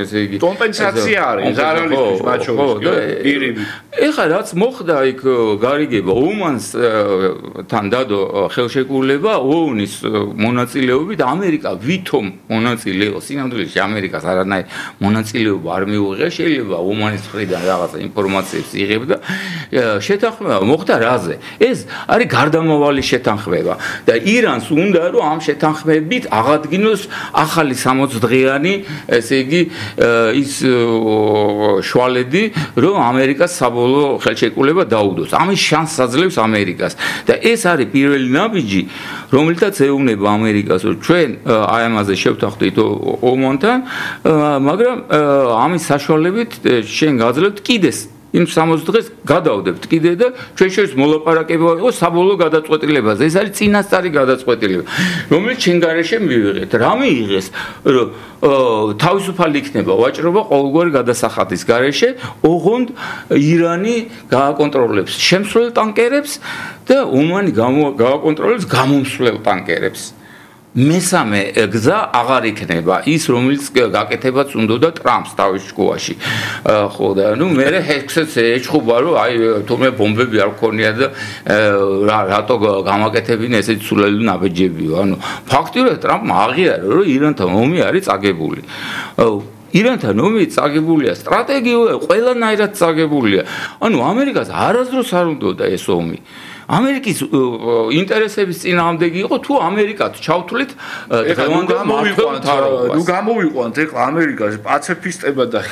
ესე იგი კომპენსაცია არის ზარალისთვის მათ შორის ეხლა რაც მოხდა იქ გარიგება ომანსთან დადო ხელშეკრულება ООН-ის მონაწილეობით ამერიკა ვითომ მონაწილეობს სინამდვილეში ამერიკას არანაირი მონაწილეობა არ მიუღია შეიძლება ომანის მხრიდან რაღაცა ინფორმაციებს იღებდა შეთანხმება მოხდა რაზე ეს არის გარდამავალი შეთანხმება და ირანს უნდა რომ ამ შეთანხმებით აღადგინოს ახალი 60 დღიანი ესე იგი ის შვალედი რომ ამერიკას საბოლოო ხელშეკრულება დაუდოს ამის შანსს აძლევს ამერიკას და ეს არის პირველი ნაბიჯი რომელთაც ეუბნება ამერიკას რომ ჩვენ აი ამაზე შევთანხმდით ომანთან მაგრამ ამის საშუალებით შენ გაძლევთ კიდეს იმ 60 დღეს გადავდებთ კიდე და ჩვენ შორის მოლაპარაკება იყოს საბოლოო გადაწყვეტილებაზე ეს არის წინასწარი გადაწყვეტილება რომელიც ჩვენ გარეშე მივიღეთ რა მიიღეს რომ თავისუფალი იქნება ვაჭრობა ყოველგვარი გადასახადის გარეშე ოღონდ ირანი გააკონტროლებს შემსვლელ ტანკერებს და ომანი გააკონტროლებს გამომსვლელ ტანკერებს მესამე გზა აღარ იქნება ის რომელიც გაკეთებაც უნდოდა ტრამპს თავის შუაში ხო და ნუ მე ჰექსეც ეჭხობა რომ აი თუმე ბომბები არ გქონია და რატო გამაკეთებინა ესეთი სულელი ნაბეჯებიო ანუ ფაქტიურად ტრამპმა აღიარა რომ ირანთან ომი არის წაგებული ირანთან ომი წაგებულია სტრატეგიულად ყველანაირად წაგებულია ანუ ამერიკას არასდროს არ უნდოდა ეს ომი ამერიკის ინტერესების წინააღმდეგი იყო თუ ამერიკაც ჩავთვლით გამოვიყვანთ ეხლა ამერიკას პაციფისტებად და